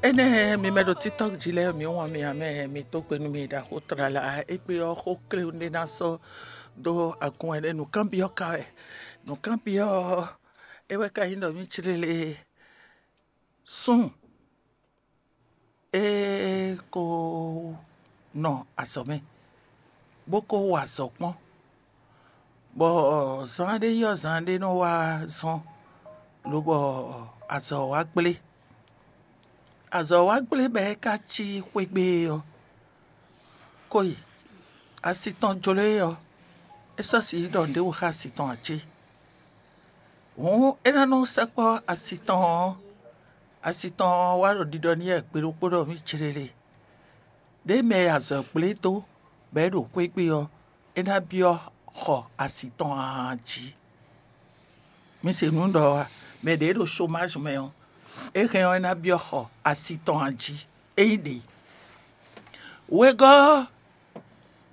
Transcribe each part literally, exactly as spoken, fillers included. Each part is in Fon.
Énɛ́ mi mɛ ɖo TikTok jí lɛ́ɛ, mi wɔn mi amɛ mi dó gbe nú mi ɖaxó tlala. Égbé ɔ́, xó kléwún ɖé ná sɔ́ dó agun wɛ nɛ́. Nǔkanbyɔ́ ka wɛ. Nǔkanbyɔ́ ɔ́, é wɛ ka nyí ɖɔ mì cléle súnnu é ko nɔ azɔ̌ mɛ, bó ko wa azɔ̌ kpɔ́n, bɔ zán ɖé yi ɔ́, zán ɖé nɔ wá zɔ́n, lobɔ azɔ̌ wá gblé. Azɔ̌ wá gblé bɔ é ka cí xwé gbe é ɔ́, ko yi asi tɔn jló é ɔ́, é sɔ́ sixú ɖɔ nǔɖé wú xá asi tɔn ǎ cé? Hǔn é ná nɔ sɛkpɔ́ asi tɔn ɔ́, asi tɔn ɔ́ wá ɖo ɖiɖɔ n'i wɛ gbe ɖokpó ɖɔ mì céɖéɖé. Ɖěe mɛ e azɔ̌ gblé dó bɔ é ɖo xwé gbe ɔ́, é ná byɔ́ xɔ asi tɔn ǎ jí. Mi se nǔ ɖɔ ɔ́ a? Mɛ ɖě ɖo chômage mɛ ɔ́, é hɛn ɔ́, é ná byɔ́ xɔ asi tɔn ǎ jí. É nyí ɖě. Wegɔ́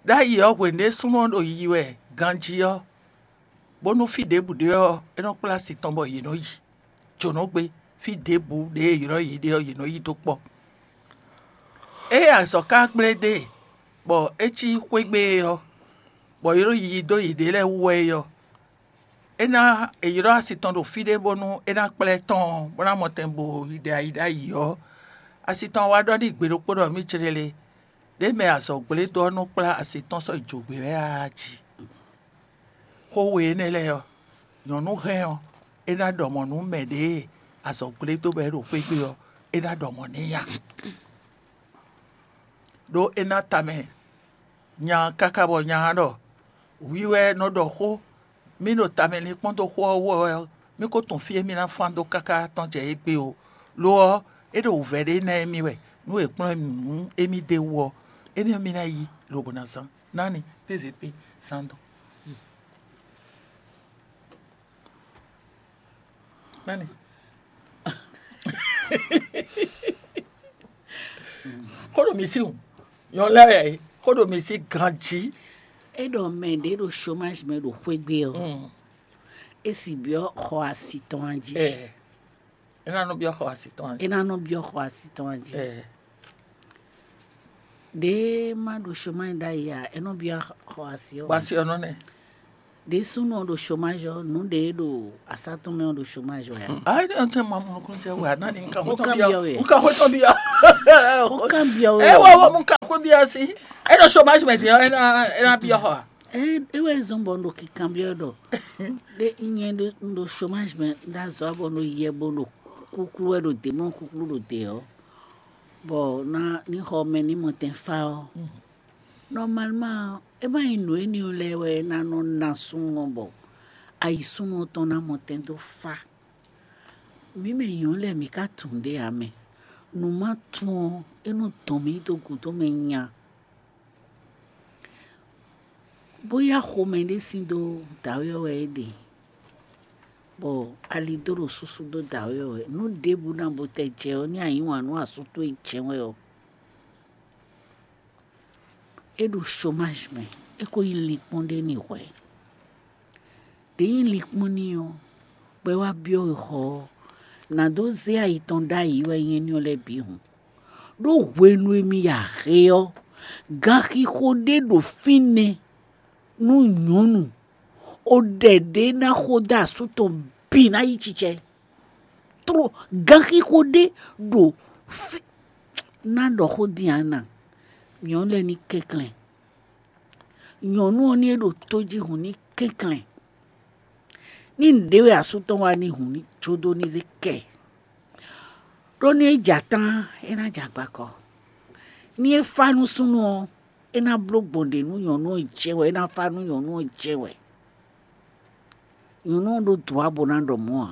ɖ'ayǐ ɔ́, hwenu e súnnu ɔ́ ɖo yiyi wɛ ganjí ɔ́, bónú fí ɖěbǔ ɖé ɔ́, é nɔ kplá asi tɔn bɔ yě nɔ yi jǒnɔgbé. Fí ɖěbǔ ɖě e è ylɔ́ yě ɖe ɔ́, yě nɔ yi dó kpɔ́. Ée azɔ̌ ka gblé dó e, bɔ é cí xwé gbe é ɔ́, bɔ yě ɖo yiyi dó yěɖée lɛ́ɛ wú wɛ é ɔ́, é ná è ylɔ́ asi tɔn ɖo fí ɖé bónú é ná kplá ɛ tɔn ɔ́, bó ná mɔ tɛn bo yi ɖe ayi ɖ'ayǐ ɔ́, asi tɔn wá ɖɔ n'i gbe ɖokpó ɖɔ mì céɖéɖé, ɖěe mɛ azɔ̌ gblé dó ɔ́ nɔ kplá asi tɔn sɔ́ yi jǒgbé wɛ ǎ jí. Xó we énɛ́ lɛ́ɛ ɔ́, nyɔ̌nu hɛn ɔ́, é ná ɖɔ mɔ̌ nú mɛ ɖě e azɔ̌ gblé dó bɔ é ɖo xwé gbe ɔ́, é ná ɖɔ mɔ̌ n'i ǎ. Ɖó é ná tamɛ nya káká bɔ nya ɔ́ ɖɔ: "Hwi wɛ nɔ ɖɔ xó, mì ɖo tamɛ linkpɔ́n dó xó ɔ́ wú wɛ ɔ́, mì ko tunwun fí e mì ná fán dó káká tɔ́n jɛ égbé ó. Lo ɔ́, é ɖo wǔvɛ́ ɖé ná émí wɛ, nú è kplɔ́n émí nǔ émí d'é wú ɔ́, énɛ́ ɔ́ mì ná yi lobo ná zán." Nani P V P zán dɔn. Nani? Xó ɖo mǐ sí wǔ. Nyɔ̌nu lɛ́ɛ wɛ xó ɖo mǐ sí ganjí. É ɖɔ mɛ ɖě ɖo chômage mɛ ɖo xwé gbe ɔ́, é sì byɔ́ xɔ asi tɔn a jí. Ɛ, é ná nɔ byɔ́ xɔ asi tɔn a jí. É ná nɔ byɔ́ xɔ asi tɔn a jí. Ɛ, Ɖě má ɖo chômage ɖ'ayǐ ǎ, é nɔ byɔ́ xɔ asi ɔ́. Xɔ asi ɔ́ nɔ nɛ. Ɖě súnnu ɔ́ ɖo chômage ɔ́, nǔ ɖě ɖo asá tɔn mɛ ɔ́ ɖo chômage wɛ ǎ. Ayi ne ɔn tɛ ma mɔ nukun jɛ wɛ ana ni nka Ó hotɔn kan bia byɔ́ wɛ. Nka hotɔn bia. Ó kan byɔ́ wɛ. E wɔ wɔ mu nka ko bia si. E ɖo chômage mɛ din ɔ́, e na e na bia xɔ. E e wɛ zɔn bɔ un ɖo kikan byɔ́ ɖɔ ɖe nyɛ ɖo un ɖo chômage mɛ ɖo azɔ bɔ un ɖo yɛ bo ɖo kúkú wɛ ɖo dě mɔ kúkú ɖo dě ɔ́, bɔ na ní xɔ mɛ ní mɔ tɛn fá ɔ́. Normalement é má nyí nǔ énɛ́ lɛ́ɛ wɛ é ná nɔ ná súnnu ɔ́ bɔ ayi súnnu ɔ́ tɔn ná mɔ tɛn dó fá. Mǐ mɛ nyɔ̌nu lɛ́ɛ mǐ ka tunwun ɖě ǎ mɛ. Nǔ ma tunwun ɔ́, é nɔ dɔn mǐ dó gǔdo mɛ nya. Bóyá xomɛ ɖé sín dó dǎwe ɔ́ wɛ é ɖe, bɔ ali dó ɖo súsú dó dǎwe ɔ́ wɛ. Nǔ ɖěbǔ ná bo tɛ jɛ ɔ́, ní a yí wǎn nú asú towe jɛ́n wɛ ɔ́, é ɖo chômage mɛ, é ko nyí linkpɔ́n ɖé n'i hwɛ̌. Ɖě nyí linkpɔ́n n'i ɔ́, bɔ é wá byɔ́ wexɔ ɔ́, nǎ dó zé ayi tɔn ɖ'ayǐ wɛ nyɛ ní ɔ́ lɛ́ɛ bǐ hǔn. Ɖó hwenu e mi ya he ɔ́, ganxixo ɖé ɖo fínɛ́ nú nyɔ̌nu, o ɖɛ ɖě ná xo dó asú tɔn bǐ ná yí cicɛ. Tló ganxixo ɖé ɖo fí ná ɖɔ xó din a na, nyɔ̌nu lɛ́ɛ ní kɛnklɛ́n. Nyɔ̌nu ɔ́ ní é ɖo tó jí hǔn ní kɛnklɛ́n. Ní nǔɖé wɛ asú tɔn wá ní hǔn ní jó dó ní zé kɛ. Ɖó ní é jɛ atán é ná jɛ agbakɔ. Ní é fá nú súnnu ɔ́, é ná bló gbɔn ɖě nú nyɔ̌nu ɔ́ jɛ wɛ, é ná fá nú nyɔ̌nu ɔ́ jɛ wɛ. Nyɔ̌nu ɔ́ ɖó dǔ wá bó ná ɖɔ mɔ̌ ǎ.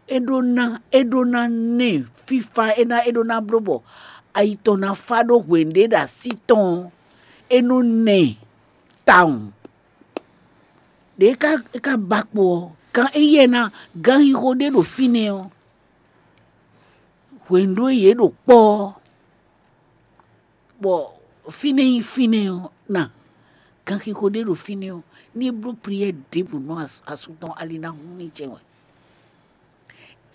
É ɖó ná é ɖó ná nɛ fífá é ná é ɖó ná bló bɔ ayi tɔn ná fá ɖó hwenu ɖé ɖo así tɔn ɔ́, é nɔ nɛ tawun. Ɖě é ka é ka ba kpo ɔ́, gán éyɛ́ ná gánxixo ɖé ɖo fínɛ́ ɔ́, hwenu ɖó yě ɖo kpɔ́ ɔ́, bɔ fínɛ́ nyí fínɛ́ ɔ́, na ganxixo ɖé ɖo fínɛ́ ɔ́, ní é bló pliyɛ́ ɖěbǔ nú asú tɔn ali ná hún ní jɛ wɛ.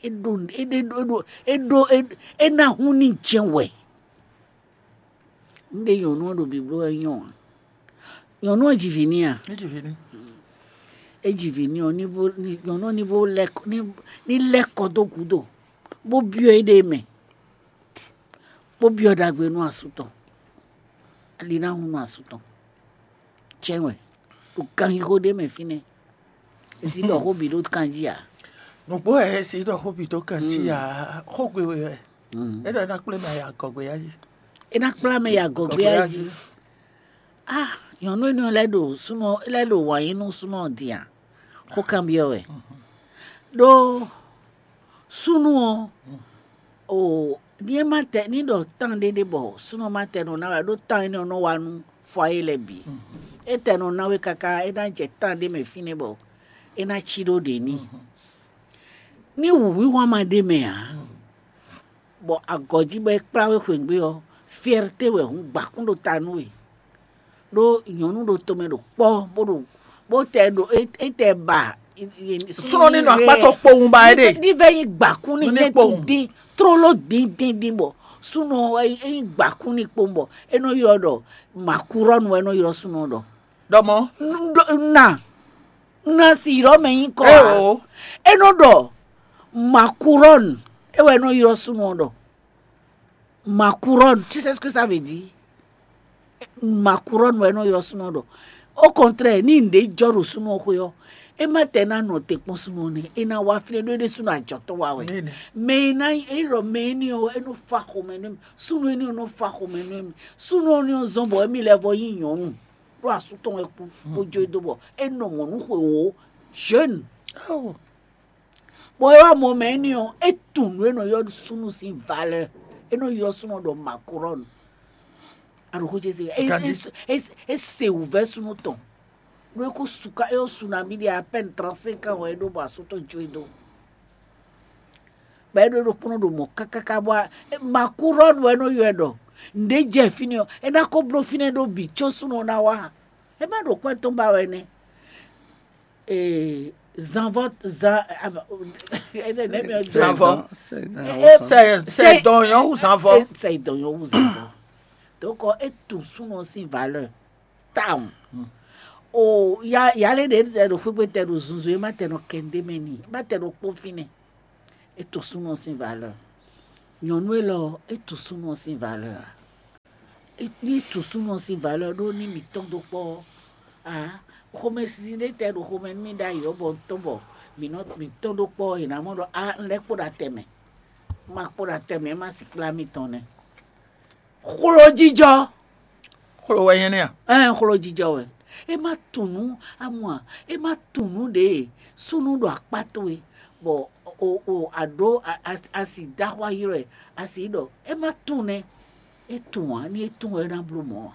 É ɖo é ɖe ɖo é ɖo é ɖo é é ná hún ní jɛ́n wɛ. Un ɖe nyɔ̌nu ɔ́ ɖo bibló wɛ nyɔ́ ǎ. Nyɔ̌nu ɔ́ ji vǐ n'i a? Ní ji vǐ ní. É ji vǐ n'i ɔ́, ní vó ní nyɔ̌nu ɔ́ ní vó lɛ́ kɔ ní ní lɛ́ kɔ dó gǔdo, bó byɔ́ éɖée mɛ, bó byɔ́ ɖagbe nú asú tɔn. Ali ná hun nú asú tɔn. Cɛ́n wɛ ɖo ganxixo ɖé mɛ fínɛ́. Zǐ ɖɔ xó bǐ ɖó kan jí ǎ. Nǔgbó wɛ é si ɖɔ xó bǐ ɖó kan jí ǎ. Xógbe wɛ wɛ. É ɖɔ é ná kplé mɛ yi agɔgbe yá jí. É ná kplá mɛ yi agɔgbe yá jí. Ah, nyɔ̌nu énɛ́ lɛ́ ɖo súnɔ lɛ́ ɖo wǎn yí nú súnɔ ɔ́ din a? Xó kanbyɔ́ wɛ. Ɖó súnnu ɔ́, o ní é má tɛ ní ɖɔ tán ɖé ɖé bɔ súnɔ má tɛ nɔ ná wɛ ɖó tán énɛ́ ɔ́ nɔ wá nú fɔ ayé lɛ́ɛ bǐ. É tɛ nɔ ná we káká é ná jɛ tán ɖé mɛ fínɛ́ bɔ é ná cí ɖó ɖě n'i. Ní wǔhwíhwán ma ɖ'é mɛ ǎ, bɔ agɔ̌ jí bɔ é kplá we xweyǐgbe ɔ́, fyɛ́rté wɛ hǔn gbǎkún ɖo ta nú we. Ɖó nyɔ̌nu ɖo tomɛ ɖo kpɔ́ bó ɖo bó tɛ ɖo é tɛ ba. Súnɔ ní nɔ akpá tɔn kpowun ba é ɖe. Ní vɛ nyí gbǎkún ní ní kpowun dín tlóló dín dín dín bɔ súnɔ é nyí gbǎkún ní kpowun bɔ é nɔ ylɔ́ ɖɔ màkúrɔ́nu wɛ é nɔ ylɔ́ súnɔ ɖɔ. Ɖɔ mɔ̌. Na na si ylɔ́ mɛ nyí kɔ ǎ. É nɔ ɖɔ màkúrɔ́nu é wɛ é nɔ ylɔ́ súnɔ ɖɔ. Makurɔn, tu sais ce que ça veut dire? Makurɔn wɛ nɔ ylɔ́ súnɔ ɖɔ. Au contraire, ní nǔɖé jɔ ɖo súnɔ xwé ɔ́, é má tɛ ná nɔ te kpɔ́n súnɔ nɛ́, é ná wá flɛ́ ɖó é ɖésúnɔ ajɔ̌tɔ́ wa wɛ. Mɛ e ná é ɖɔ mɛ énɛ́ ɔ́, é nɔ fa xomɛ nú mì. Súnɔ énɛ́ ɔ́ nɔ fa xomɛ nú mì. Súnɔ énɛ́ ɔ́ zɔ́n bɔ émí lɛ́ vɔ nyí nyɔ̌nu, ɖó asú tɔn wɛ kú, bó jó e dó bɔ é nɔ mɔ̌ nú xwe wǒ. Jeune. Bɔ é wá mɔ mɛ énɛ́ ɔ́, é tunwun nǔ e nɔ ylɔ́ súnnu sín valeur. É nɔ ylɔ́ súnnu ɖɔ Macron. Aɖǒxo ce se é é é se wǔvɛ́ súnnu tɔn. Ɖó é kó suká é su nabí ɖe à peine trente-cinq ans wɛ é ɖó bɔ asú tɔn jó e dó. Bɔ é ɖó ɖokpónɔ ɖo mɔ̌ kákáká bɔ Macron wɛ é nɔ ylɔ́ ɛ ɖɔ nǔɖé jɛ fínɛ́ ɔ́, é ná kó bló fínɛ́ ɖó bǐ có súnnu ɔ́ ná wá. É má ɖo kwɛ́ tɔn ba wɛ nɛ́. Ee, zanvɔ zan aba- ene ne mi ɔ Zanvɔ. Sɛ sɛ sɛ dɔn yɔn wu zanvɔ. Sɛ dɔn yɔn wu zanvɔ. Donc e tun súnɔ sín valeur tawun. O ya yalé ɖe tɛ ɖo xwégbé tɛ ɖo zunzun e ma tɛ nɔ kɛndé mɛ ni ma tɛ ɖo kpó fínɛ. E tun súnɔ sín valeur. Nyɔnu élɔ e tun súnɔ sín valeur. Ní tǔsúnɔ sín valeur ɖó ní mǐ tɔ́n dó kpɔ́ ɔ́, aa, xomɛsinsin ɖé tɛ ɖo xomɛ nú mì ɖ'ayǐ ɔ́ bɔ un tɔ́n bɔ mǐ nɔ mǐ tɔ́n dó kpɔ́ ɔ́, è nǎ mɔ ɖɔ á un lɛ́ kpo ɖo atɛ mɛ. Un ma kpo ɖo atɛ mɛ, é má si kplá mì tɔn nɛ́. Xlojijɔ. Xlo wɛ nyɛ nɛ́ a? Ɛn xlojijɔ wɛ. É má tunú amɔ a? É má tunú ɖě súnú ɖo akpá towe bɔ o o aɖó asi dó axwá ylɔ́ ɛ asi ɖɔ é má tún nɛ́. É tún ǎ, ní é tún ɔ́, é ná bló mɔ̌ ǎ.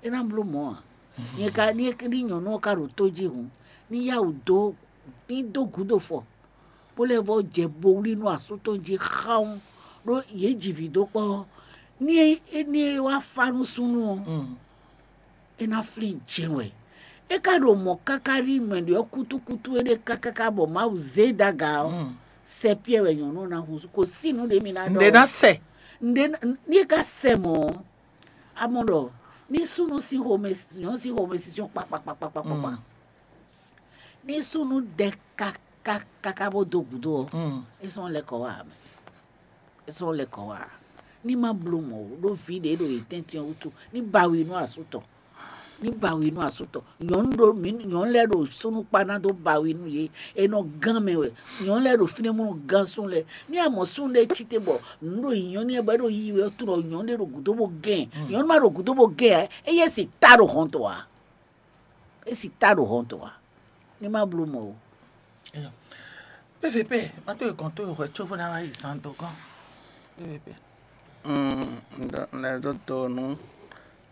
É ná bló mɔ̌ ǎ. Nyɛ ka ní é ní nyɔ̌nu ɔ́ ka ɖo tó jí hǔn, ní yá wǔ dó ní dó gǔdo fɔ, bó lɛ́ vɔ́ jɛ bo wlí nú asú tɔn jí xáún, ɖó yě ji vǐ dó kpɔ́ ɔ́, ní é ní é wá fá nú súnnu ɔ́, é ná flín jɛ́n wɛ. É ka ɖo mɔ̌ káká ɖi mɛ ɖě ɔ́ kútúkútú éɖée kákáká bɔ Mawu zé e dó aga ɔ́, sɛ Piyɛ́ɛ wɛ nyɔ̌nu ɔ́ ná húzú. Kò sí nǔ ɖě mi ná ɖɔ. Nǔɖé ná sɛ. Nǔɖé ní é ka sɛ mɔ̌ ɔ́, a mɔ ɖɔ ní súnnu sín xomɛ nyɔ̌nu sín xomɛsinsin kpakpakpakpakpakpa, ní súnnu dɛ káká káká bó dó gǔdo ɔ́, é sɔ́ lɛ́ kɔ wá ǎ mɛ. É sɔ́ lɛ́ kɔ wá ǎ. Ní má bló mɔ̌ ó, ɖó vǐ ɖě ɖo yě tɛ́ntin ɔ́ wútu, ní ba wi nú asú tɔn. Ní ba wi nú asú tɔn. Nyɔ̌nu ɖo mǐ nyɔ̌nu lɛ́ɛ ɖo súnnu kpa ná dó ba wi nú yě. È nɔ gán mɛ wɛ. Nyɔ̌nu lɛ́ɛ ɖo fínɛ́ mɔ gán súnnu lɛ́ɛ. Ní a mɔ súnnu ɖé cí te bɔ nǔ ɖo yǐnyɔ́ n'i wɛ bɔ é ɖo yiyi wɛ, é tunɔ nyɔ̌nu ɖé ɖo gǔdo bó gɛ́n ɛ. Nyɔ̌nu ma ɖo gǔdo bó gɛ́n ɛ, éyɛ́ si ta ɖo hɔn tɔn ǎ. É si ta ɖo hɔn tɔn ǎ. Ní má bló mɔ̌ ó. P V P, má tó yi gɔn tó yi hwɛ có bó ná wá yi zan dó gɔ́n. P V P. Un ɖɔ un lɛ́ dó to nú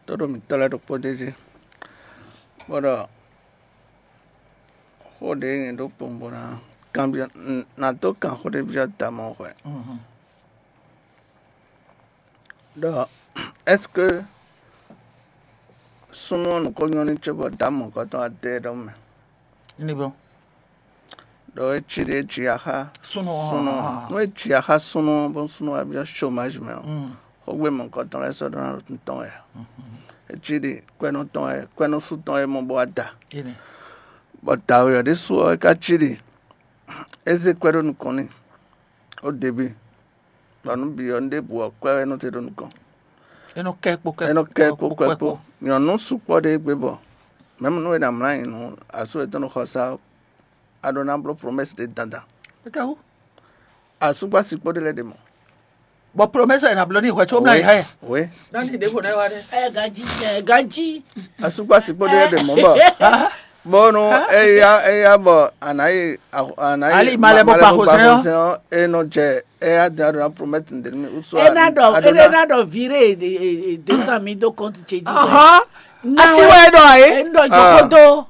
tóɖo mǐtɔn lɛ́ɛ ɖokpó d'é jí, bó ɖɔ xó ɖě nyɛ ɖó kpowun bó ná kanbyɔ́ ná dó kan xó ɖé byɔ́ damɔ hwɛ. Ɖɔ est-ce que súnnu ɔ́ nǔ ko nyɔ́ n'i cóbɔ damɔ̌kɔ́tɔn wá dó ɛ ɖɔhun mɛ? Ní bɔ. ɖɔ é cí ɖě é cí axá súnnu ɔ́. Súnnu ɔ́. Nú é cí axá súnnu ɔ́, bónú súnnu ɔ́ wá byɔ́ chômage mɛ ɔ́, xógbé mɔ̌hunkɔtɔn lɛ́ɛ sɔ́ ɖó ná ɖo tɔn wɛ ǎ. É cí ɖi kwɛ́nɔ́ tɔn wɛ, kwɛ́nɔ́ sú tɔn wɛ é mɔ bó wá da. Bɔ dǎwe ɔ́ ɖésú ɔ́, é ka cí ɖi é zé kwɛ́ ɖó nukɔn n'i ó ɖebi, bɔ nǔ bǐ ɔ́, nú ɖěbǔ ɔ́, kwɛ́ wɛ é nɔ te ɖó nukɔn. É nɔ kɛ kpo kɛ É nɔ kɛ kpo kpo kɛ kpo. Nyɔ̌nu sukpɔ́ ɖé gbé bɔ mɛ̌m nú è nǎ mlá nyi nǔ asú yětɔn ɖo xɔsá ɔ́, a ɖó ná bló promɛ́si ɖé dandan. Étɛ́wú? Asúgbási kpó ɖé lɛ́ɛ ɖe mɔ̌. Bɔ promɛ́si ɔ́ è nǎ bló n'i hwɛ có mlá nyi hɛ. Wě. Nani ɖěvo nɛ́ wá ɖe. Ɛ ganjí ɛ ganjí. Asúgbási kpó ɖé lɛ́ɛ ɖe mɔ̌ bɔ bónú éyá éyá bɔ a nǎ yi a- a nǎ yi Ali ma lɛ bó kpa xozɛ́n ɔ́. Xozɛ́n ɔ́, é nɔ jɛ éyá din a ɖó ná promɛ́ti nǔɖé nú mì wúsú. Ena ɖɔ ena ɖɔ viré deux cent mille dó compte ce jí. Asi wɛ é ɖɔ ɛ. Ena ɖɔ jɔxɔdo.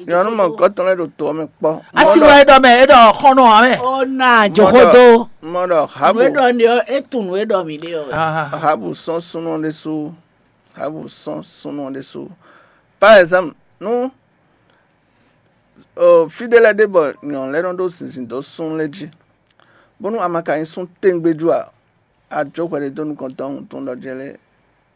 Nyɔ̌nu mɔ̌hunkɔtɔn lɛ́ɛ ɖo to ɔ́ mɛ kpɔ́. Asi wɛ é ɖɔ mɛ é ɖɔ xɔnɔ ɔ́ mɛ. Ona jɔxɔdo. Mɔ ɖɔ habu. Nǔ e ɖɔ ne ɔ́, e tunwun nǔ e ɖɔ mǐ ɖe ɔ́. Habu sɔ́n súnnu ɔ́ ɖésú. Habu sɔ́n súnnu ɔ́ ɖésú. Par exemple, nú fí ɖé lɛ́ɛ ɖe bɔ nyɔ̌nu lɛ́ɛ nɔ ɖó zinzin dó súnnu lɛ́ɛ jí, bónú a ma ka nyí sún tɛ́ngbéjú ǎ, a jó hwɛɖé dó nukɔn tɔn wuntun ɖɔ jɛ lé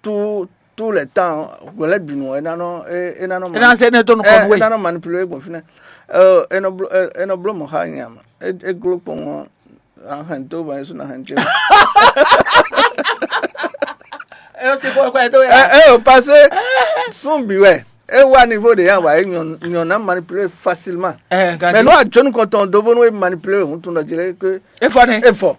tout tout les temps hwɛ lɛ́ bǐ nu ɔ́, é ná nɔ é é ná nɔ É ná zé énɛ́ dó nukɔn nú é we. É ná nɔ manipulé we gbɔn fínɛ́. Ɔ, é nɔ bló é é nɔ bló mɔ̌ xá nyɛ ǎ. É é gló kpɔ́n ɔ́, a hɛn dó bɔ é sú ná hɛn jɛ. É nɔ sí xó xwɛ dó ɛ yá. É ò pasé sún bǐ wɛ. É wá niveau ɖě yá wǎ é nyɔ nyɔ ná manipulé facilement. Ɛ Mais nú a jó nukɔn tɔn dó bónú é manipulé we wuntun ɖɔ jí lé ké É fɔ nɛ. É fɔ.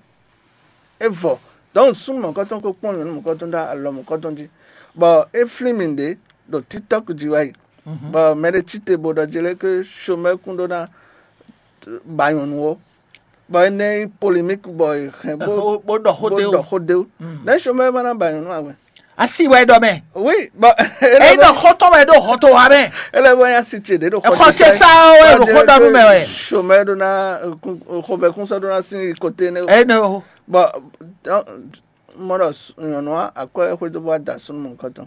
É vɔ. Donc súnnu mɔ̌kɔtɔn ko kpɔ́n nyɔ̌nu mɔ̌kɔtɔn ɖó alɔ mɔ̌kɔtɔn jí, bɔ é flín mì ɖě ɖo TikTok jí wá yi, bɔ mɛ ɖé cí te bo ɖɔ jí lé ké chômeur kún ɖó ná ba nyɔ̌nu ó, bɔ é ná nyí polémique bɔ è hɛn bó Bó- bó ɖɔ xó bó dé o. Ɖɔ xó dé o. Nɛ̌ chômeur ma ná ba nyɔ̌nu ǎ wɛ? Asi wɛ ɖɔ mɛ. Oui, bɔ É ɖɔ xɔtɔn wɛ ɖo xɔtɔn wa mɛ. Ele bɔ ya si ce ɖe ɖo Exɔ ce sa wɛ ɖo xɔ ɖɔ nú mɛ wɛ. Chômeur ɖó ná xɔvɛ kún sɔ ɖó ná sín côté ne. Ene o. Bon, mɔ ɖɔ nyɔnua akwɛ xwedó bɔ da súnmɔ kɔtɔn.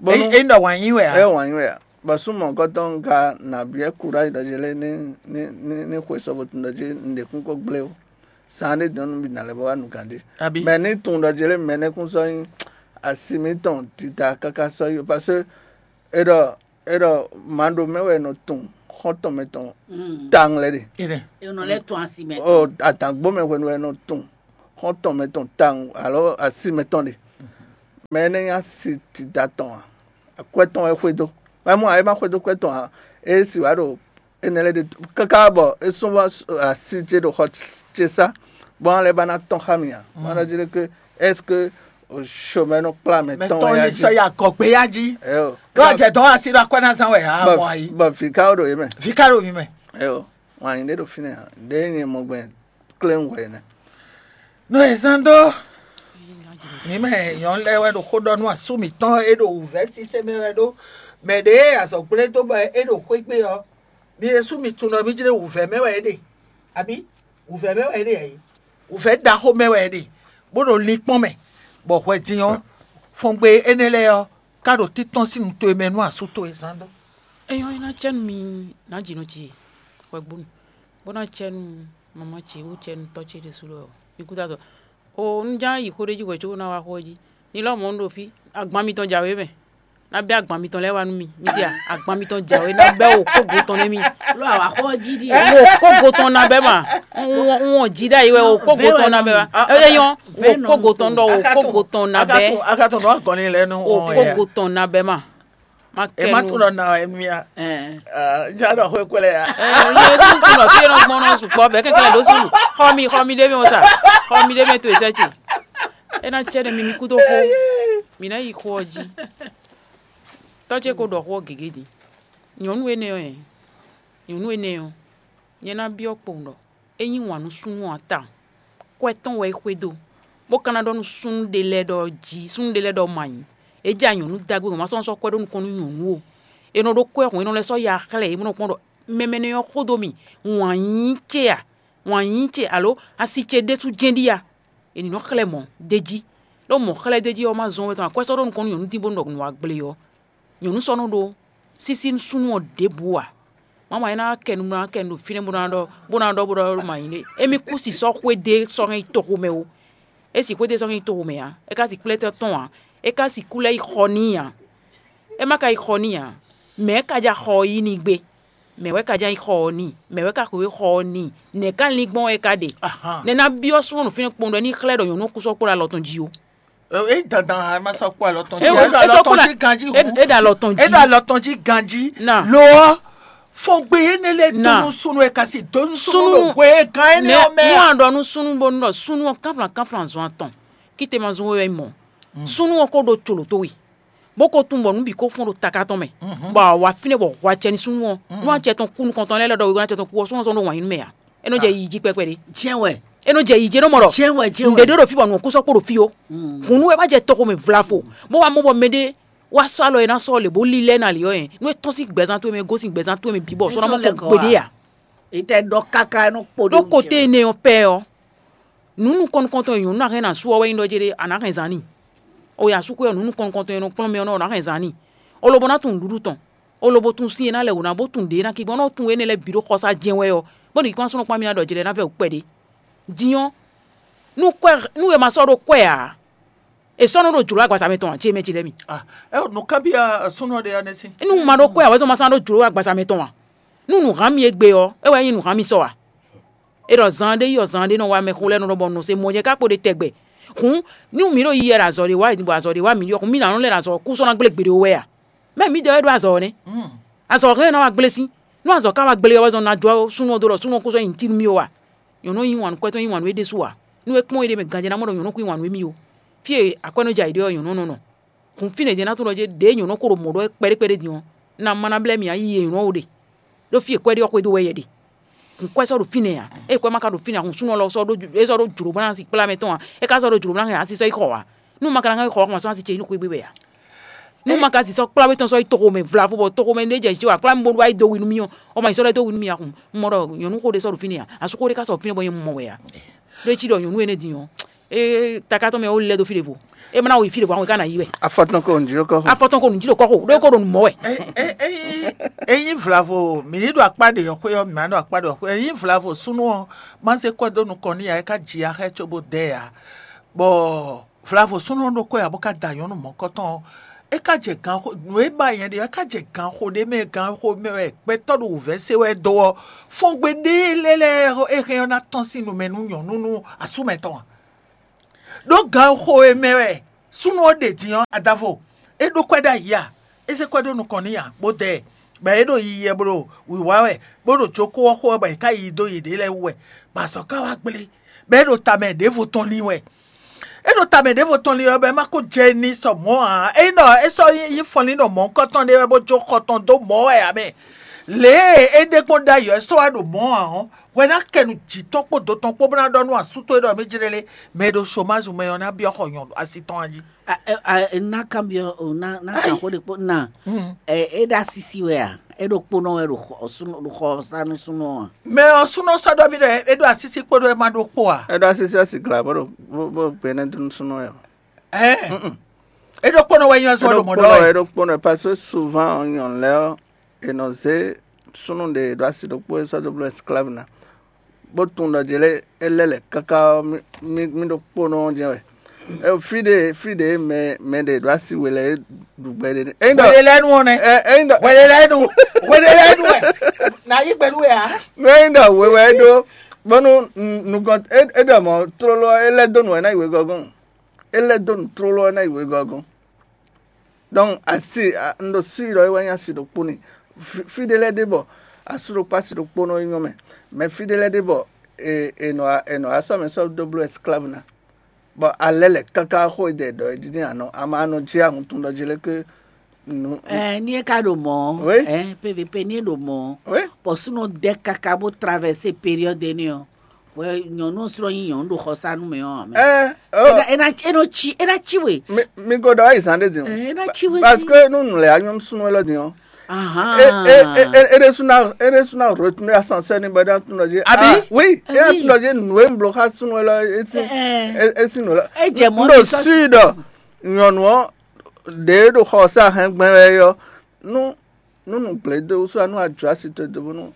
Bɔnu Eyi ɖɔ wǎn yí wɛ ɛ a? Wǎn yí wɛ a? Bɔ súnmɔ kɔtɔn ka nà biɛ kura ɖɔ yɛ lɛ ní ní ní ní xwe sɔ bɔ tun ɖɔ jí nɖe kún kó gblé o. Saan ɖé dɔn nú bi nà lɛ bɔ wá nukàn ɖé. Abi. Mɛ ní tun ɖɔ jí lé mɛ nɛ́ kún sɔ nyí asi mǐtɔn tita káká sɔ yí o, parce que e ɖɔ e ɖɔ mǎ ɖo mɛ wɛ nɔ tun xɔ́ntɔn mɛtɔn tawun lɛ ɖe. Ene. Enɔ lɛ tɔn asi mɛ. O adǎngbó mɛ hwenu wɛ nɔ tun xɔ́ntɔn mɛtɔn tawun alo asi mɛtɔn ɖe. Mɛ énɛ́ nyí asi tita tɔn a? Akwɛ́ tɔn wɛ xwedó. Mɛ mɔ a é má xwedó kwɛ́ tɔn a? É si wǎ ɖo énɛ́ lɛ́ɛ ɖe káká bɔ é sún vɔ asi ce ɖo xɔ ce sá, bɔ ɔ́ lɛ́ ba ná tɔn xá mì a? Má ɖɔ jí ɖé ké, est-ce que chômeur nɔ kplá mɛ tɔn Mɛtɔn wɛ yí ya jí? Sɔ yi agɔgbe ya jí. Ɛyo. Ɖó ɔjɛ dɔn asi ɖo akwɛ́ ná zán wɛ a mɔ ayi. Bɔ vǐ ka ɖo yé mɛ. Vǐ ka ɖo mi mɛ. Ɛyo. Wǎn nyí ɖé ɖo fínɛ́ a? Ɖé nyɛ mɔ gbɛn kléwún hwɛ nɛ́. Nɔ e zán dó mǐ mɛ nyɔ̌nu lɛ́ɛ wɛ ɖo xó ɖɔ nú asú mǐtɔn e ɖo wǔvɛ́ sísɛ́ mɛ wɛ ɖó mɛ ɖě e azɔ̌ gblé dó bɔ é ɖo xwé gbe ɔ́, mi ɖésú mi tunwun ɖɔ mí jlé wǔvɛ́ mɛ wɛ é ɖe, abǐ wǔvɛ́ mɛ wɛ é ɖe ǎ é? Wǔvɛ́ ɖaxó mɛ wɛ é ɖe, bó ɖo linkpɔ́n mɛ, bɔ hwɛ din ɔ́, fɔngbe énɛ́ lɛ́ɛ ɔ́, ká ɖo títɔ́n sín nu towe mɛ nú asú towe zán dó. É nyɔ́ é ná cɛ nú mi nǎ ji nɔ ce hwɛgbónu, bó ná cɛ nú mamá ce wú cɛ nú tɔ́ ce ɖésú lɔ mi kúdado. O un ján yi xó ɖé jí hwɛ̌ có ná wá xó ɔ́ jí. Ni lɔ́ mɔ̌ un ɖo fí, agban mitɔn jǎwe mɛ. Ná bɛ́ agban mitɔn lɛ́ɛ wá nú mi. Mi se a, agban mitɔn jǎwe ná bɛ́ wǒkógo tɔn nɛ́ mi. Ló àwa xó jí ɖi. Wǒkógo tɔn ná bɛ́ ma. Un wɔn jí ɖ'ayǐ wɛ wǒkógo tɔn ná bɛ́ ma. É nyɔ́, wǒkógo tɔn ɖɔ wǒkógo tɔn ná bɛ́. Akatɔn nɔ agɔnni lɛ nú wɔn ya. Wǒkógo tɔn ná bɛ́ ma. Ma kɛ Ema nu. Tun nɔ na emi ya. Ɛɛ. Ah, ja ɖɔ xwe kwɛlɛ ya. Ɛɛ, nye tun tun nɔ fie nɔ gbɔn nɔ sukpɔ bɛ kɛkɛ lɛ ɖo sunu. Xɔ mi, xɔ mi ɖe mi o sa. Xɔ mi ɖe mi to esɛ tsi. E na cɛ ɖe mi mi kudo xo. Mi na yi xɔ ɔ dzi. Tɔ ce ko ɖɔ xɔ gege di. Nyɔnu ene ɔ, nyɔnu ene ɔ, nye na biɔ kpowun ɖɔ. É nyí wǎn nú súnnu ɔ́ tawun. Kwɛ́ tɔn wɛ é xwedó, bó ka ná ɖɔ nú súnnu ɖé lɛ́ɛ ɖɔ jí súnnu ɖé lɛ́ɛ ɖɔ ma nyí. É jɛ anyɔ̌nu dagbe gbɔn ma sɔ́ sɔ́ kwɛ́ ɖó nukɔn nú nyɔ̌nu o. È nɔ ɖó kwɛ́ hɔn, è nɔ lɛ́ sɔ́ ya xlɛ́ yě, bó nɔ kpɔ́n ɖɔ mɛmɛ nɛ́ ɔ́ xó dó mì, wǎn nyí ce a? Wǎn nyí ce alo asi ce ɖésú jɛ́n ɖíe a? È nǐ nɔ xlɛ́ mɔ̌ d'é jí. Ɖó mɔ̌ xlɛ́ d'é jí ɔ́ ma zɔ́n wɛ tɔn akwɛ́ sɔ́ ɖó nukɔn nú nyɔ̌nu dín bónú ɖɔ nǔ wá gblé ɔ́, nyɔ̌nu sɔ́ nɔ ɖó sísí nú súnnu ɔ́ ɖěbǔ ǎ. Mama é ná kɛ nu ná kɛ nu ɖo fínɛ́ bó ná ɖɔ bó ná ɖɔ bó ɖɔ ɖo ma nyí ɖé. Émí kú si sɔ́ xwédé sɔ́ hɛn yi toxo mɛ o. É si xwédé sɔ́ hɛn yi toxo mɛ ǎ. É ka si kplɛ́ tɔ́ tɔn ǎ. É ka si kú lɛ́ yi xɔ n'i ǎ. É ma ka yi xɔ n'i ǎ. Mɛ̌ ka ja xɔ ɔ́ yí n'i gbé? Mɛ̌ wɛ ka ja yi xɔ ɔ́ n'i? Mɛ̌ wɛ ka xweyǐgbe xɔ ɔ́ n'i? Nɛ̌ ka lin gbɔn wɛ é ka ɖe? Nɛ̌ ná byɔ́ súnnu fínɛ́ kpɔ́n ɖɔ é ní xlɛ́ ɖɔ nyɔ̌nu ɔ́ kú sɔ́ kpó ɖo alɔ tɔn jí ó? É dandan a ma sɔ́ kpó alɔ tɔn jí. É ɖo alɔ tɔn jí ganjí hǔn. É ɖo alɔ tɔn jí. É ɖo alɔ tɔn jí ganjí. Lo ɔ́, fɔngbe énɛ́ lɛ́ɛ dó nú súnnu e ka si dó nú súnnu ɖo hwe e gán énɛ́ ɔ́ mɛ a? Nú a ɖɔ nú súnnu bónú ɖɔ súnnu ɔ́ kánflán kánflán zɔn atɔn, kíte ma zɔn we wɛ nyí mɔ̌. Súnnu ɔ́ ko ɖo colo towe, bó ko tunwun bɔ nǔ bǐ ko fɔ́n ɖo taká tɔn mɛ, bɔ a wǎ fínɛ́ bɔ hwɛ acɛ nú súnnu ɔ́. Nú acɛ tɔn kú nukɔntɔn lɛ́ɛ lɛ́ ɖɔ wegɔ́ acɛ tɔn kú ɔ́, súnnu ɔ́ sɔ́ ɖo wǎn yí nú mɛ ǎ. É nɔ jɛ yiyi jí kpɛkpɛ ɖé. Jɛ́n wɛ. É nɔ jɛ yiyi jí é nɔ mɔ ɖɔ jɛ́n wɛ jɛ́n wɛ. Nǔɖé ɖó ɖo fí bɔ nǔ ɔ́ kú sɔ́ kpo ɖo fí ó. Hǔn nú é wá jɛ toxo mɛ vlavo, bó wá mɔ bɔ mɛɖé wá sɔ́ alɔ e ná sɔ́ lě bó lílɛ́ ná lě ɔ́, nú é tɔ́n sín gbɛzán towe mɛ gosín gbɛzán towe mɛ bǐ bɔ sɔ́ ná mɔ kɔ gbeɖé ǎ. Itɛ ɖɔ káká nɔ kpo ɖó kote énɛ́ ɔ́ pɛ ɔ́, nǔ nukɔn nukɔntɔn e nyɔ̌nu ná hɛn ná sú ɔ́ wɛ nyí ɖɔ jɛɖé a nǎ hɛn zán n'i. O ya sú xwé ɔ́, nǔ nukɔn nukɔntɔn e nɔ kplɔ́n mɛ ɔ́ nɔ ná hɛn zán n'i. O lobo ná tunwun nǔɖuɖu tɔn. O lobo tunwun sin e ná lɛ wǒ ná bó tunwun ɖě ná kí gbɔn ná tunwun énɛ́ lɛ́ɛ bǐ ɖó xɔsá jɛ́n wɛ ɔ́, bó ɖi kpán súnnu kpán mì ná ɖɔ jlɛ̌ ná vɛ wǔ kpɛɖé. Din ɔ́, nú kwɛ́ nú è ma sɔ́ ɖó kwɛ́ ǎ, è sɔ́ nɔ ɖo jlǒ agbaza mɛ tɔn ǎ, ce mɛ ce lɛ́ɛ mi. Ah, ɛ nǔ kábíyá súnú ɔ́ ɖe ɔ́ nɛ́ sín. Nú un ma ɖó kwɛ́ ǎ, wɛ́ zɔn ma sɔ́ ná ɖó jlǒ agbaza mɛ tɔn ǎ. Nú nǔ hán mi égbé ɔ́, é wɛ nyí nǔ hán mi sɔ ǎ. É ɖɔ zan ɖé yi ɔ́, zan ɖé nɔ wá mɛxó lɛ́ɛ nɔ ɖɔ bɔ nɔ se mɔ nyɛ ká kpo ɖe tɛgbɛ. Hǔn nú mǐ ɖo yiyi wɛ ɖo azɔ̌ ɖé wa, bɔ azɔ̌ ɖé wa mǐ ɖi ɔ́, hǔn mǐ ná nɔ lɛ́ ɖo azɔ̌ kú sɔ́ ná gblé gbeɖé wɛ a? Mɛ mǐdɛɛ wɛ ɖó azɔ̌ ɔ́ nɛ́. Azɔ̌ hɛn ná wá gblé sín. Nú azɔ̌ ka wá gblé ɔ́, wɛ zɔn ná jɔ súnnu ɔ́ dó ɖɔ súnnu ɔ́ kú sɔ́ nyi nǔ cí nú mì ó a? Nyɔ̌nu yí wǎn nú kwɛ́ tɔn yí wǎn nú é ɖésú ǎ. Nú é kpɔ́n éɖée mɛ ganjɛ ná mɔ ɖɔ nyɔ̌nu kú yí wǎn nú émí ó. Fí e akwɛ́ nɔ jɛ ayǐ ɖe ɔ́, nyɔ̌nu nɔ nɔ. Hǔn fínɛ́ din ná tunwun ɖɔ jé ɖěe nyɔ̌nu ko ɖo mɔ̌ ɖɔ wɛ kpɛɖékpɛɖé din ɔ́, ná má ná blɛ́ mì ǎ yi e nyɔ̌nu ɔ́ ɖe. Ɖó fí e kwɛ́ ɖe ɔ́ xwedó wɛ yɛ ɖe. Hǔn kwɛ́ sɔ́ ɖo fínɛ́ ǎ. Ée kwɛ́ ma ka ɖo fínɛ́ ǎ, hǔn súnnu ɔ́ lɔ sɔ́ ɖó é sɔ́ ɖó jlǒ bó ná si kplá mɛ tɔn ǎ. É ka sɔ́ ɖó jlǒ bó ná hɛn asisɔ yi xɔ ǎ. Nú un ma ka ná hɛn xɔ ɔ́, ma sɔ́ asi ce yi nú xwé gbe wɛ ǎ. Nú un ma ka si sɔ́ kplá wé tɔn sɔ́ yi toxo mɛ vlavo bɔ toxo mɛ ɖé jɛ jǐ wǎ kplá mì bónú wá yi dó wi nú mì ɔ́, ɔ ma yi sɔ́ lɛ́ dó wi nú mì ǎ. Hǔn un mɔ ɖɔ nyɔ̌nu xó ɖé sɔ́ ɖo fínɛ́ ǎ. Asú xó ɖé ka sɔ́ ɖo fínɛ́ bɔ nyɛ mɔ wɛ ǎ. Ɖó é cí ɖɔ nyɔ̌nu énɛ́ din ɔ́, é taká tɔn mɛ ó lɛ́ dó fí ɖěvo. É ma ná yi fí ɖěvo, àwọn ká ná yi wɛ. Afɔtɔn ko nǔ jí ɖó kɔ́ xo. Afɔtɔn ko nǔ jí ɖo kɔ́ xo, ɖó é ko ɖo nǔ mɔ wɛ. Ényí vlavo mǐ ní ɖo akpá ɖě ɔ́ xwé ɔ́, mǐ ná ɖo akpá ɖě ɔ́ xwé. Ényí vlavo súnnu ɔ́, má zé kwɛ́ dó nukɔn n'i ǎ, é ká ji axɛ́ cóbó dɛ ǎ. Bɔ vlavo súnnu ɔ́ ɖokpó ǎ bó ká da nyɔ̌nu mɔ̌kɔtɔn ɔ́, é ká jɛ ganxo nǔ e ba nyɛ ɖe ɔ́, é ká jɛ ganxo ɖé mɛ, ganxo mɛ wɛ gbɛtɔ́ ɖo wǔvɛ́ se wɛ dó ɔ́, fɔ́ngbé ɖé lɛ́ɛ lɛ́ɛ é hɛn ɔ́ ná tɔ́n sín nu mɛ nú nyɔ̌nu nú asú mɛtɔn ǎ. Ɖó ganxo e mɛ wɛ súnnu ɔ́ ɖe din ɔ́, adavo é ɖó kwɛ́ ɖ'ayǐ a? É zé kwɛ́ ɖó nukɔn n'i ǎ, bó dɛ ɛ, bɔ é ɖo yiyi wɛ bó ɖo wǐwá wɛ, bó ɖo jokó ɔ́ xo wɛ, bɔ è ká yi dó yěɖée lɛ́ɛ wú wɛ, bɔ azɔ̌ ká wá gblé, bɔ é ɖo tamɛ ɖěvo tɔn lin wɛ. É ɖo tamɛ ɖěvo tɔn lin wɛ, bɔ é ma ko jɛ ní sɔ mɔ̌ ǎ. Ényí ɖɔ é sɔ́ yí fɔnlín ɖo mɔ̌hunkɔtɔn ɖé wɛ bó jó xɔ tɔn dó mɔ̌ wɛ ǎ mɛ, lě e é ɖe gbɔn ɖ'ayǐ ɔ́, é sɔ́ wá ɖo mɔ̌ ǎ ɔ́, hwɛ ná kɛ nu jǐ tɔn kpó do tɔn kpó bó ná ɖɔ nú asú towe ɖɔ mí jlé lé, mɛ e ɖo somázu mɛ ɔ́ ná byɔ́ xɔ nyɔ̌nu asi tɔn jí. Ná kanbyɔ́ o, ná ná kan xó ɖé kpó ná. É ɖo asísí wɛ a? É ɖo kpónɔ wɛ ɖo xɔ sánú súnɔ a? Mɛ ɔ́ súnɔ sɔ́ ɖɔ mí ɖɔ é ɖo asísí kpódó é ma ɖó kpó a? É ɖo asísí ɔ́ sigla bó ɖo bó bó gbé nɛ́ dó nú súnɔ wɛ. Ɛɛ, é ɖo kpónɔ wɛ nyɔ́ zɔn ɖo mɔ̌ ɖɔ wɛ. É ɖo kpónɔ wɛ, parce que souvent nyɔ̌nu lɛ́ɛ ɔ́, è nɔ zé súnnu ɖě ɖo asi ɖokpó é sɔ́ dó bló esclave ná, bó tunwun ɖɔ jě lɛ́ɛ é lɛ́ lɛ̌ káká ɔ́, mì mì ɖo kpónɔ ɔ́ jɛ́n wɛ. Fí ɖé fí ɖě mɛ mɛ ɖě ɖo asi we lɛ́ɛ é ɖu gbɛ ɖé. Ényí ɖɔ Hwelelɛ́nu ɔ́ nɛ́. Ényí ɖɔ Hwelelɛ́nu Hwelelɛ́nu wɛ. Nǎ yí gbɛ nú we ǎ. Ényí ɖɔ we wɛ é ɖó, bónú nukɔn é ɖɔ mɔ̌ tlóló ɔ́, é lɛ́ dó nǔ wɛ ná yi wegɔ́gɔ́n. É lɛ́ dó nǔ tlóló ɔ́ ná yi wegɔ́gɔ́n. Donc asi un ɖo sûr ɖɔ é wɛ nyí asi ɖokpó n'i. Fí ɖé lɛ́ɛ ɖe bɔ asú ɖokpó asi ɖokpó nɔ nyɔ́ mɛ, mɛ fí ɖé lɛ́ɛ ɖe bɔ è nɔ è nɔ asɔ́ mɛ sɔ́ dó bló esclave ná, bɔ alɛ lɛ káká xó e dɛ ɖɔ é ɖi n'i anɔ ama anɔ jí ahun tɔn ɖɔ jí lɛ́ ké nu. Ɛ ní é ká ɖo mɔ̌ Oui. Ɛ P V P ní é ɖo mɔ̌. Oui. Bɔ súnɔ dɛ káká bó traverser période énɛ́ ɔ́, wɛ nyɔ̌nu ɔ́ slɔ́ nyí nyɔ̌nu ɖo xɔsánú mɛ ɔ́ mɛ. Ɛ É ná- é ná- é nɔ cí é ná cí we. Mi mi go ɖɔ ayi zan ɖe din o. Ɛ, é ná cí we Parce sí. Que nu nù lɛ anyɔ sunu lɔ din o. Ahan. E e e e de suna e de suna retourner ascenseur ni bɛ da tun dɔ je. Abi? Ah, oui, e da tun dɔ je nu e blo xa sunu lɔ esi Ɛ, ɛ. Esi nu lɔ. E jɛ mɔ N ɖo ni sɔ- Sud nyɔnu ɔ ɖe ɖo xɔ sa hɛn gbɛn wɛ yɔ. Nu nú nǔgblédó wúsú nú a jǒ asi towe dó bónú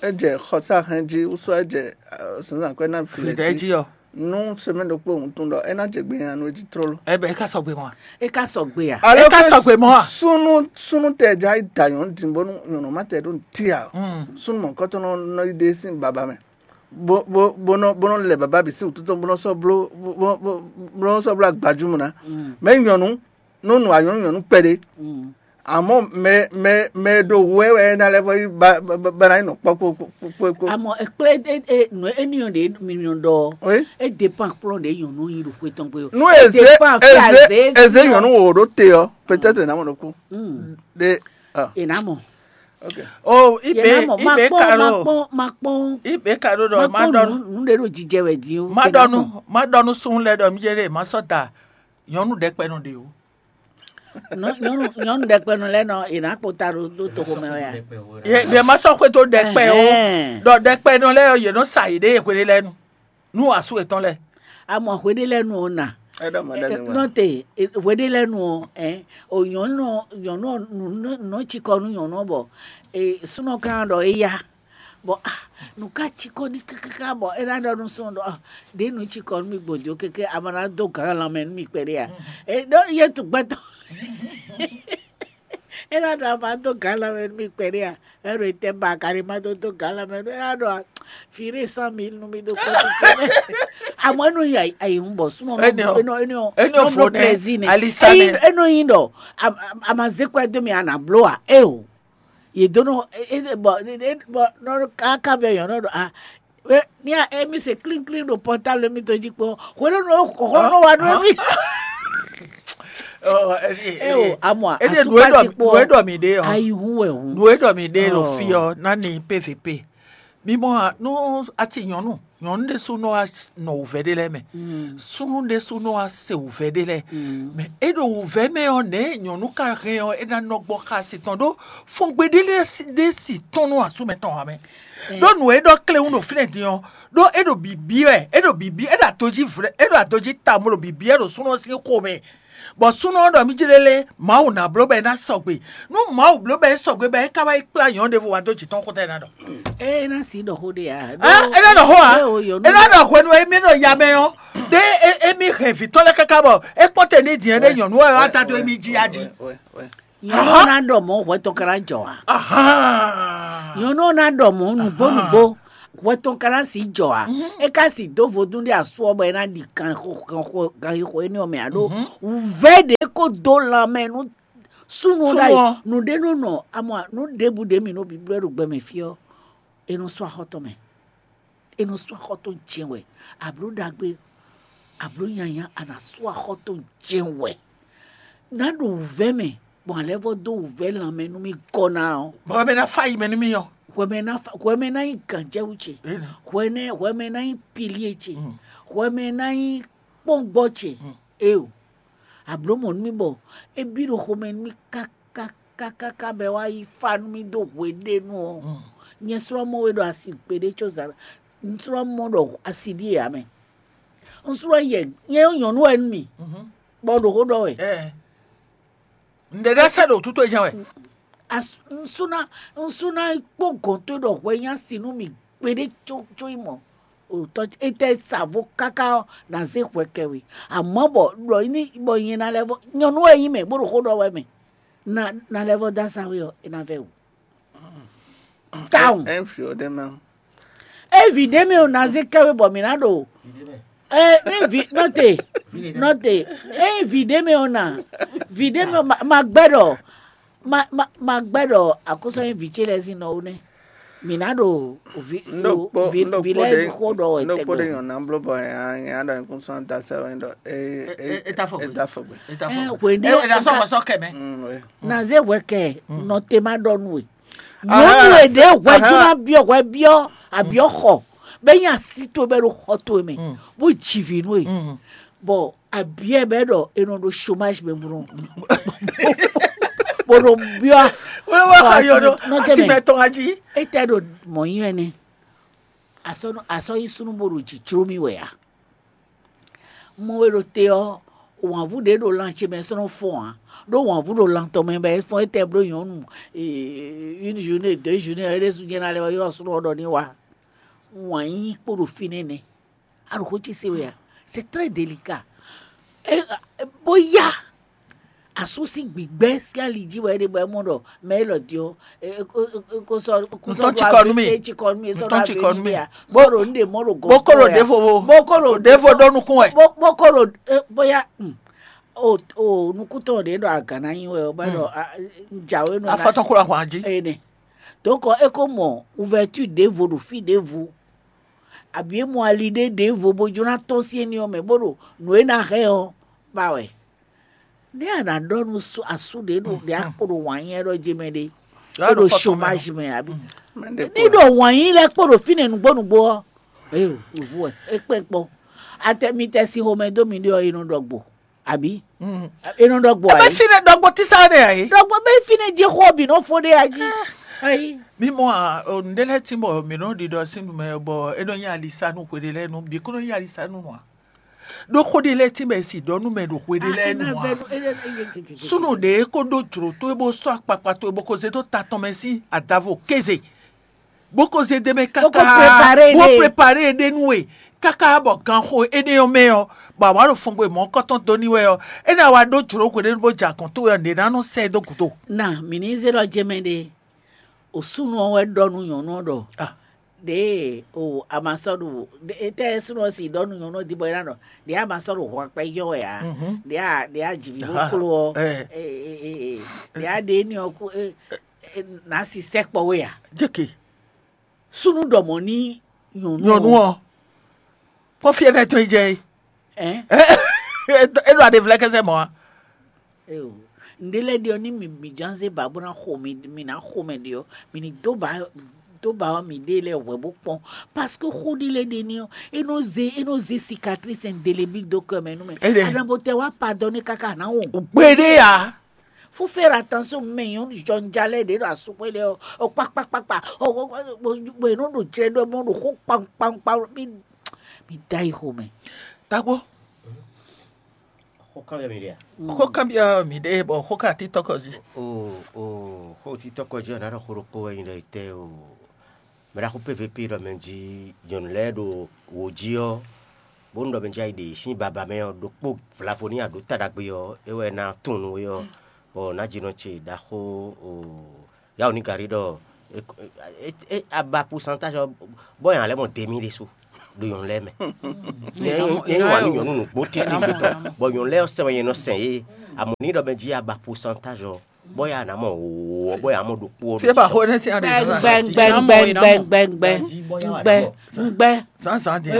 é jɛ xɔsá hɛn jí wúsú é jɛ zǎnzǎn kwɛ́ ná vǐ lɛ́ɛ jí ɔ́, nú sɛmɛ ɖokpó wuntun ɖɔ é ná jɛ gbe nyi anu é jí tlóló. Ɛ bɛ é ka sɔgbe mɔ a? É ka sɔgbe a? Alo É ka ke sɔgbe mɔ a? Súnnu súnnu tɛ ja yi da nyɔ̌nu din bónú nyɔ̌nu ma tɛ ɖó nǔti ǎ. Mm. Súnnu mɔ̌kɔtɔn nɔ nɔ yi ɖe sín baba mɛ, bó bó bó nɔ bó nɔ lɛ baba bǐ sín wǔtu tɔn bó nɔ sɔ́ bló bó bó bó nɔ sɔ́ bló agbajúmɔ ná. Mm. Mɛ nyɔ̌nu nú nǔ anyɔ̌nu nyɔ̌nu kpɛɖé. Mm. Àmọ́ mɛ mɛ mɛ e ɖo hu wɛ wɛ é ná lɛ́ vɔ yi ba ba ba ná yi nɔ kpɔ́ kpó kpó kpó kpó. Àmọ́ ẹ kplé é é nǔ énìyàn ɖě mi nɔ ɖɔ ɔ́, Oui. É dépend kplɔ́n ɖě nyɔ̌nu nyi ɖo xwé tɔn gbe o. Nú É eze dépend fí eze azě eze nyɔ̌nu wò ɖó te ɔ́, peut-être ná mɔ ɖokú. Mm. Ɖe ah, È ná mɔ. Ok. O È ibe ná mɔ. Ma ibe kpɔn ma karo kpɔn ma kpɔn ibe karo ma ɖɔ ma kpɔn dɔnu nǔ nǔ ɖé ɖo jijɛ wɛ din o. Ma È ná dɔnu mɔ. Ma dɔnu sun lɛ ɖɔ mi jɛ ɖe ma sɔ da nyɔnu ɖɛkpɛ nɔ ɖe o. Nɔ- nyɔnu nyɔnu ɖɛkpɛnu lɛ́ɛ nɔ è nǎ kpɔ́n ta ɖó ɖó toxo mɛ wɛ a? Ye ye ma sɔ xwedó ɖɛkpɛ o. Ɛhɛn. Ɖɔ ɖɛkpɛ nɔ lɛ́ɛ ɔ́, yě nɔ sa yěɖée hweɖé lɛ́ɛ nu nú asú yětɔn lɛ́ɛ. Amɔ hweɖé lɛ́ɛ nu ɔ́ na. Ɛ ɖɔ mɔ ɖe mi wá. Nɔte hweɖé lɛ́ɛ nu ɔ́ ɛ o nyɔnu ɔ- nyɔnu ɔ nu nu- nɔ cikɔ nú nyɔnu ɔ bɔ e súnɔ kan ɖɔ é yá bɔ ah nǔ ka cikɔ ní kákáká bɔ é ná ɖɔ nú súnɔ ɖɔ ah ɖě nǔ cikɔ nú mi gbòjó kéké a ma ná dó gǎn lanmɛ nú mi kpɛɖé a é ɖɔ yé tu gbɛtɔ é ná ɖɔ a ma dó gǎn lanmɛ nú mi kpɛɖé a é ɖo tɛ ba kaɖi ma dó dó gǎn lanmɛ nú é ná ɖɔ fǐ ɖé cent mille nú mi dó kɔ́ tuntun mɛ àmọ́ é nɔ yi ayi hun bɔ súnɔ Énɛ́ ɔ́. Énɛ́ ɔ́. Énɛ́ ɔ́ fo nɛ, plaisir nɛ alisa nɛ. É nɔ yi ɖɔ a ma zé kɔ dó mi a nà bló a é o yě dó nɔ é bɔ bɔ nɔ káká bɛ yɔn nɔ ɖɔ a ní a émi se klínklín ɖo pɔtáblu mi tó jí kpɔ́n hwenu nɔ xɔxɔ nɔ wa nɔ mi é o amɔ ede nu eɖɔ asukpati kpɔ nu eɖɔ mi ɖe ɔ ayi hu wɛ hu nu eɖɔ mi ɖe ɖo fi ɔ nani pvp mi mɔ nu ati nyɔnu nyɔnu ɖe su nɔ wa nɔ wòvɛ ɖe lɛ mɛ sunu ɖe su nɔ wa se wòvɛ ɖe lɛ mɛ e ɖo wòvɛ mɛ ɔ nɛ nyɔnu ka hɛn ɔ e na nɔ gbɔ xa si tɔn ɖo fɔngbe ɖe lɛ ɖe si tɔn nɔ asu mɛ tɔn wa mɛ ɖo nu e ɖɔ klewun ɖo fínɛ din ɔ ɖo e ɖo bibi wɛ e ɖo bibi e ɖo adoji vlɛ e ɖo adoji ta mo ɖo bibi wɛ ɖo sunɔ sin xo mɛ bɔ sunɔ ɖɔ mi jlélé mawu ná bló bɔ e ná sɔgbe nú mawu bló bɔ e sɔgbe bɔ e ka wá yi kplá nyɔ̌ ɖěvo wá dó jǐ tɔn xóta e ná ɖɔ. Ee, e ná si ɖɔ xó ɖe ya. Ah, e ná ɖɔ xó a? E ná ɖɔ hwenu e mi ɖo ya mɛ ɔ ɖe emi hɛn vǐ tɔn lɛ káká bɔ e kpɔ́n te ní din ɖe nyɔ̌nu wɛ wá da dó emi jí ya jí. Nyɔ̌nu ɔ́ ná ɖɔ mɔ̌ hwɛ tɔn ka ná jɔ ǎ. Nyɔ̌nu ɔ́ ná ɖɔ mɔ̌ nǔgbó nǔgbó hwɛ tɔn ka ná sǐ jɔ ǎ. É ka sǐ dó vodún ɖé asú ɔ́ bɔ é ná ɖi ganxixo énɛ́ ɔ́ mɛ ǎ ɖó wǔvɛ́ ɖě kó dó lanmɛ nú súnnu ɔ́ ɖ'ayǐ. Nǔ ɖé nɔ nɔ amɔ nǔ ɖěbǔ ɖě mǐ nɔ bǐblɔ́ ɖo gbɛ mɛ fí ɔ́, è nɔ sú axɔ́ tɔn mɛ. È nɔ sú axɔ́ tɔn jɛ́n wɛ. Ablǒ ɖagbe, ablǒ nyanya, a nǎ sú axɔ́ tɔn jɛ́n wɛ. Ná ɖo wǔvɛ́ mɛ, gbɔn alɛ́vɔ́ dó wǔvɛ́ lanmɛ nú mì gɔ́ ná ɔ́. Bɔ mɛ ná fá yi mɛ nú mì ɔ́. Hwɛmɛ ná fa hwɛmɛ ná nyí gǎnjɛwú ce. Hwɛnɛ hwɛmɛ ná nyí pilié ce. Hwɛmɛ ná nyí kpɔ́ngbɔ́ ce. Eo, ablǒ mɔ̌ nú mì bɔ é bí ɖo xomɛ nú mì kákákáká bɔ é wá yi fá nú mì dó hweɖénu ɔ́. Nyɛ slɔ́ mɔ we ɖo asi gbeɖé có zǎn un slɔ́ mɔ ɖɔ asi ɖíe ǎ mɛ. Un slɔ́ yɛ nyɛ nyɔ̌nu wɛ nú mì, bɔ un ɖo xó ɖɔ wɛ. Nǔɖé ɖá sɛ́ ɖo wútu towe jɛ́n wɛ. Ŋsúná ŋsúná kpó gɔ̌n towe ɖɔ hwɛ nyí asi nú mì gbeɖé có có yi mɔ. Otɔ etɛ sa vo káká ɔ́ ná zé hwɛ kɛ we. Amɔ̌ bɔ ɖɔ ní bɔ nyɛ ná lɛ́ vɔ nyɔ̌nu wɛ nyí mɛ bó ɖo xó ɖɔ wɛ mɛ. Na na lɛ́ vɔ dó azǎn we ɔ́, é ná vɛ́ wǔ. Tawun. Ɛn fi o ɖe mɛ. Evi ɖé mɛ o na zé kɛ we bɔ mǐ ná ɖo. Ɛ ní vi nɔte nɔte ɛ vi ɖé mɛ o na vi ɖé mɛ o ma ma gbɛ ɖɔ ma ma ma gbɛ ɖɔ akóso ɛ vi ce lɛ zin nɔ o nɛ mǐ ná ɖo vi N ɖo kpo vi n ɖo vi kpo lɛ ɖe xó ɖɔ n ɖo kpo ɖe etɛgbɛ. Nyɔna bló bɔ nya nya ɖɔ nkún sɔn da sɛ wɛ ɖɔ e e e ta fɔ gbe. E ta fɔ gbe. E ta fɔ Ɛ gbe. Hwe ɖe E e ta sɔ ka wɔ sɔ kɛ mɛ. Mm, oui. Na zé hwɛ kɛ nɔ te ma ɖɔ nú we. Nyɔnu e ɖě hwɛ jí ná biɔ hwɛ biɔ abiɔ xɔ bɛ nyi asi towe bɛ ɖo xɔ towe mɛ bó ji vǐ nú we. Bɔ abiɛ bɛ ɖɔ e nɔ ɖo chômage mɛ bó nɔ bó nɔ biɔ Wọ́n wá ayọ̀ nɔ nɔ tɛ mɛ. Asi mɛ tɔn ají. Etɛ ɖo mɔ nyi wɛ nɛ. Asɔ asɔ yi sunu bó ɖo dzi jló mi wɛ a. Mɔ we ɖo te ɔ Wǎnvú ɖě ɖo lan ce mɛ sɔ́ nɔ fɔ́n ǎ, ɖó wǎnvú ɖo lan tɔn mɛ bɔ é fɔ́n étɛ́ bló nyɔ̌nu une journée, deux journées, é ɖésú jɛ́n ná lɛ́ wá ylɔ́ súnnu ɔ́ ɖɔ ní wá. Wǎn yíyí kpo ɖo fínɛ́ nɛ́. A ɖo xó ce se wɛ a? C'est très délicat. Bóyá asú sín gbǐgbɛ́ sín ali jí wɛ é ɖe bɔ é mɔ ɖɔ mɛ élɔ́ din ɔ́, kó sɔ́ kó sɔ́ ɖo cikɔ nú mì. Cikɔ nú mì, sɔ́ ɖo cikɔ nú mì. Bó ɖo nǔ ɖe mɔ ɖo gɔ̌n. Bó kó ɖo ɖěvo bó kó ɖo ɖěvo ɖó nukún wɛ. Bó kó ɖo bóyá o nukúntɔn ɖě ɖo agǎn ná nyi wɛ ɔ́ bɔ é ɖɔ jǎwe nɔ. Afɔtɔn kó ɖo ahwan jí. Ene. Donc é ko mɔ ouverture ɖěvo ɖo fí ɖěvo. Abǐ é mɔ ali ɖé ɖěvo bó jló ná tɔ́n sín éní ɔ́ mɛ bó ɖo nǔ e ná hɛn ɔ́ ba wɛ. Nɛ̌ a nǎ ɖɔ nú asú ɖě ɖo ɖě a kpo ɖo wǎn nyɛ ɖɔ jí mɛ ɖé? É ɖo chômage mɛ abǐ? Ní ɖɔ wǎn nyí lɛ́ kpo ɖo fínɛ́ nǔgbó nǔgbó ɔ́, é wǔvú wɛ é kpɛ́n kpɔ́n. Atɛ mi tɛ sin xomɛ dó mi ɖé ɔ́, é nɔ ɖɔ gbo. Abǐ? É nɔ ɖɔ gbo. Ebe fínɛ́ ɖɔgbó tísá ɖe ǎ é. Ɖɔgbó bɛ fínɛ́ jí xó bǐ nɔ fó ɖé a jí. Ayi. Mi mɔ a, nǔɖé lɛ́ɛ tín bɔ mǐ nɔ ɖiɖɔ sín nú mɛ bɔ é nɔ nyí alisá nú hweɖé lɛ́ɛ nú bǐ kó nɔ nyí alisá nú ǎ. Ɖó xó ɖé lɛ́ɛ tín bɔ è si ɖɔ nú mɛ ɖo hweɖé lɛ́ɛ nú ǎ. Súnnu ɖě kó ɖó jlǒ towe bó sɔ́ akpakpa towe bó ko zé dó ta tɔn mɛ sín adavo kéze. Bó ko zé ɖ'é mɛ káká bó prepare ɖe nú we káká bɔ ganxo énɛ́ ɔ́ mɛ ɔ́, bɔ a wǎ ɖo fɔngbe mɔ̌kɔtɔn dó n'i wɛ ɔ́, é ná wá ɖó jlǒ hweɖénu bó jɛ agɔ̌n towe ɔ́, nǔɖé ná nɔ sɛ ɛ dó gǔdo. Na mǐ ní zé ɖɔ jɛmɛ ɖe, o súnnu ɔ́ wɛ ɖɔ nú nyɔ̌nu ɔ́ ɖɔ ɖěe o a ma sɔ́ ɖo, étɛ́ súnnu ɔ́ si ɖɔ nú nyɔ̌nu ɔ́ din bɔ é ná ɖɔ ɖě a ma sɔ́ ɖo hwankpɛ nyɔ́ wɛ ǎ, ɖě a ɖě a jǐ vǐ bó kló ɔ́, ɖě a ɖě énɛ́ ɔ́ kú nǎ si sɛkpɔ́ we ǎ. Jeke. Súnnu ɖɔ mɔ̌ ní nyɔ̌nu nyɔ̌nu ɔ́. Ɔ́ kɔ́ fí ɛnɛ tɔn yi jɛ é. Ɛn? É ɖo aɖevlɛ́ kɛsɛ mɔ̌ a? Eo, nɖé lɛ́ɛ ɖe ɔ́ ní mi mi ján zé ba bó ná xo mi mi ná xo mɛ ɖe ɔ́, mi ní dó ba dó ba ɔ́ mi ɖe lɛ́ɛ hwɛ bó kpɔ́n, parce que xó ɖé lɛ́ɛ ɖe ní ɔ́, é nɔ zé é nɔ zé cicatrice indélébile dó kɛ mɛ nú mɛ. Aɖaŋbo tɛ wá pardonné káká ná wo. Gbeɖé a. Faut faire attention, mɛ nyɔnu jɔnjalɛ ɖě ɖo asúkpé lɛ ɔ́, ɔ kpakpakpakpa, ɔ bɔ è nɔ ɖo jlɛ ɖɔ mɔ ɖo xó kpankpankpan mi mi da yi xomɛ. Tagbó. Xó kanbyɔ́ mi ɖe a? Xó kanbyɔ́ mi ɖe bɔ xó ka títɔ́ kɔ jí. O o xó títɔ́ kɔ jí ɔ́, nǎ ɖɔ xó ɖokpó wɛ nyi ɖɔ yi tɛ́ o. Mɛ ɖaxó P V P ɖɔ mɛ jí nyɔ̌nu lɛ́ɛ ɖo wǒ jí ɔ́, bónú ɖɔ mɛ jí ayi ɖe sín baba mɛ ɔ́, ɖokpó vlavo ní aɖǒ ta ɖagbe ɔ́, é wɛ ná tunwun nú we ɔ́, bɔ nǎjínɔ ce ɖaxó Yawunígarí ɖɔ a ba pourcentage ɔ́, bɔ nya lɛ́ɛ mɔ demi ɖésú ɖo nyɔ̌nu lɛ́ɛ mɛ. Nyɛ nyɛ wa nú nyɔ̌nu nǔgbó títí gbetɔ́, bɔ nyɔ̌nu lɛ́ɛ ɔ́ sɛn wɛ nyɛ nɔ sɛn yě. Amɔ̌ ní ɖɔ mɛ jí a ba pourcentage ɔ́, bɔ ya nǎ mɔ wǒ ɔ́, bɔ ya mɔ ɖokpó ɔ́ ɖésú. Gbɛngbɛngbɛngbɛngbɛngbɛngbɛ ngbɛ. Zǎnzǎn jɛ.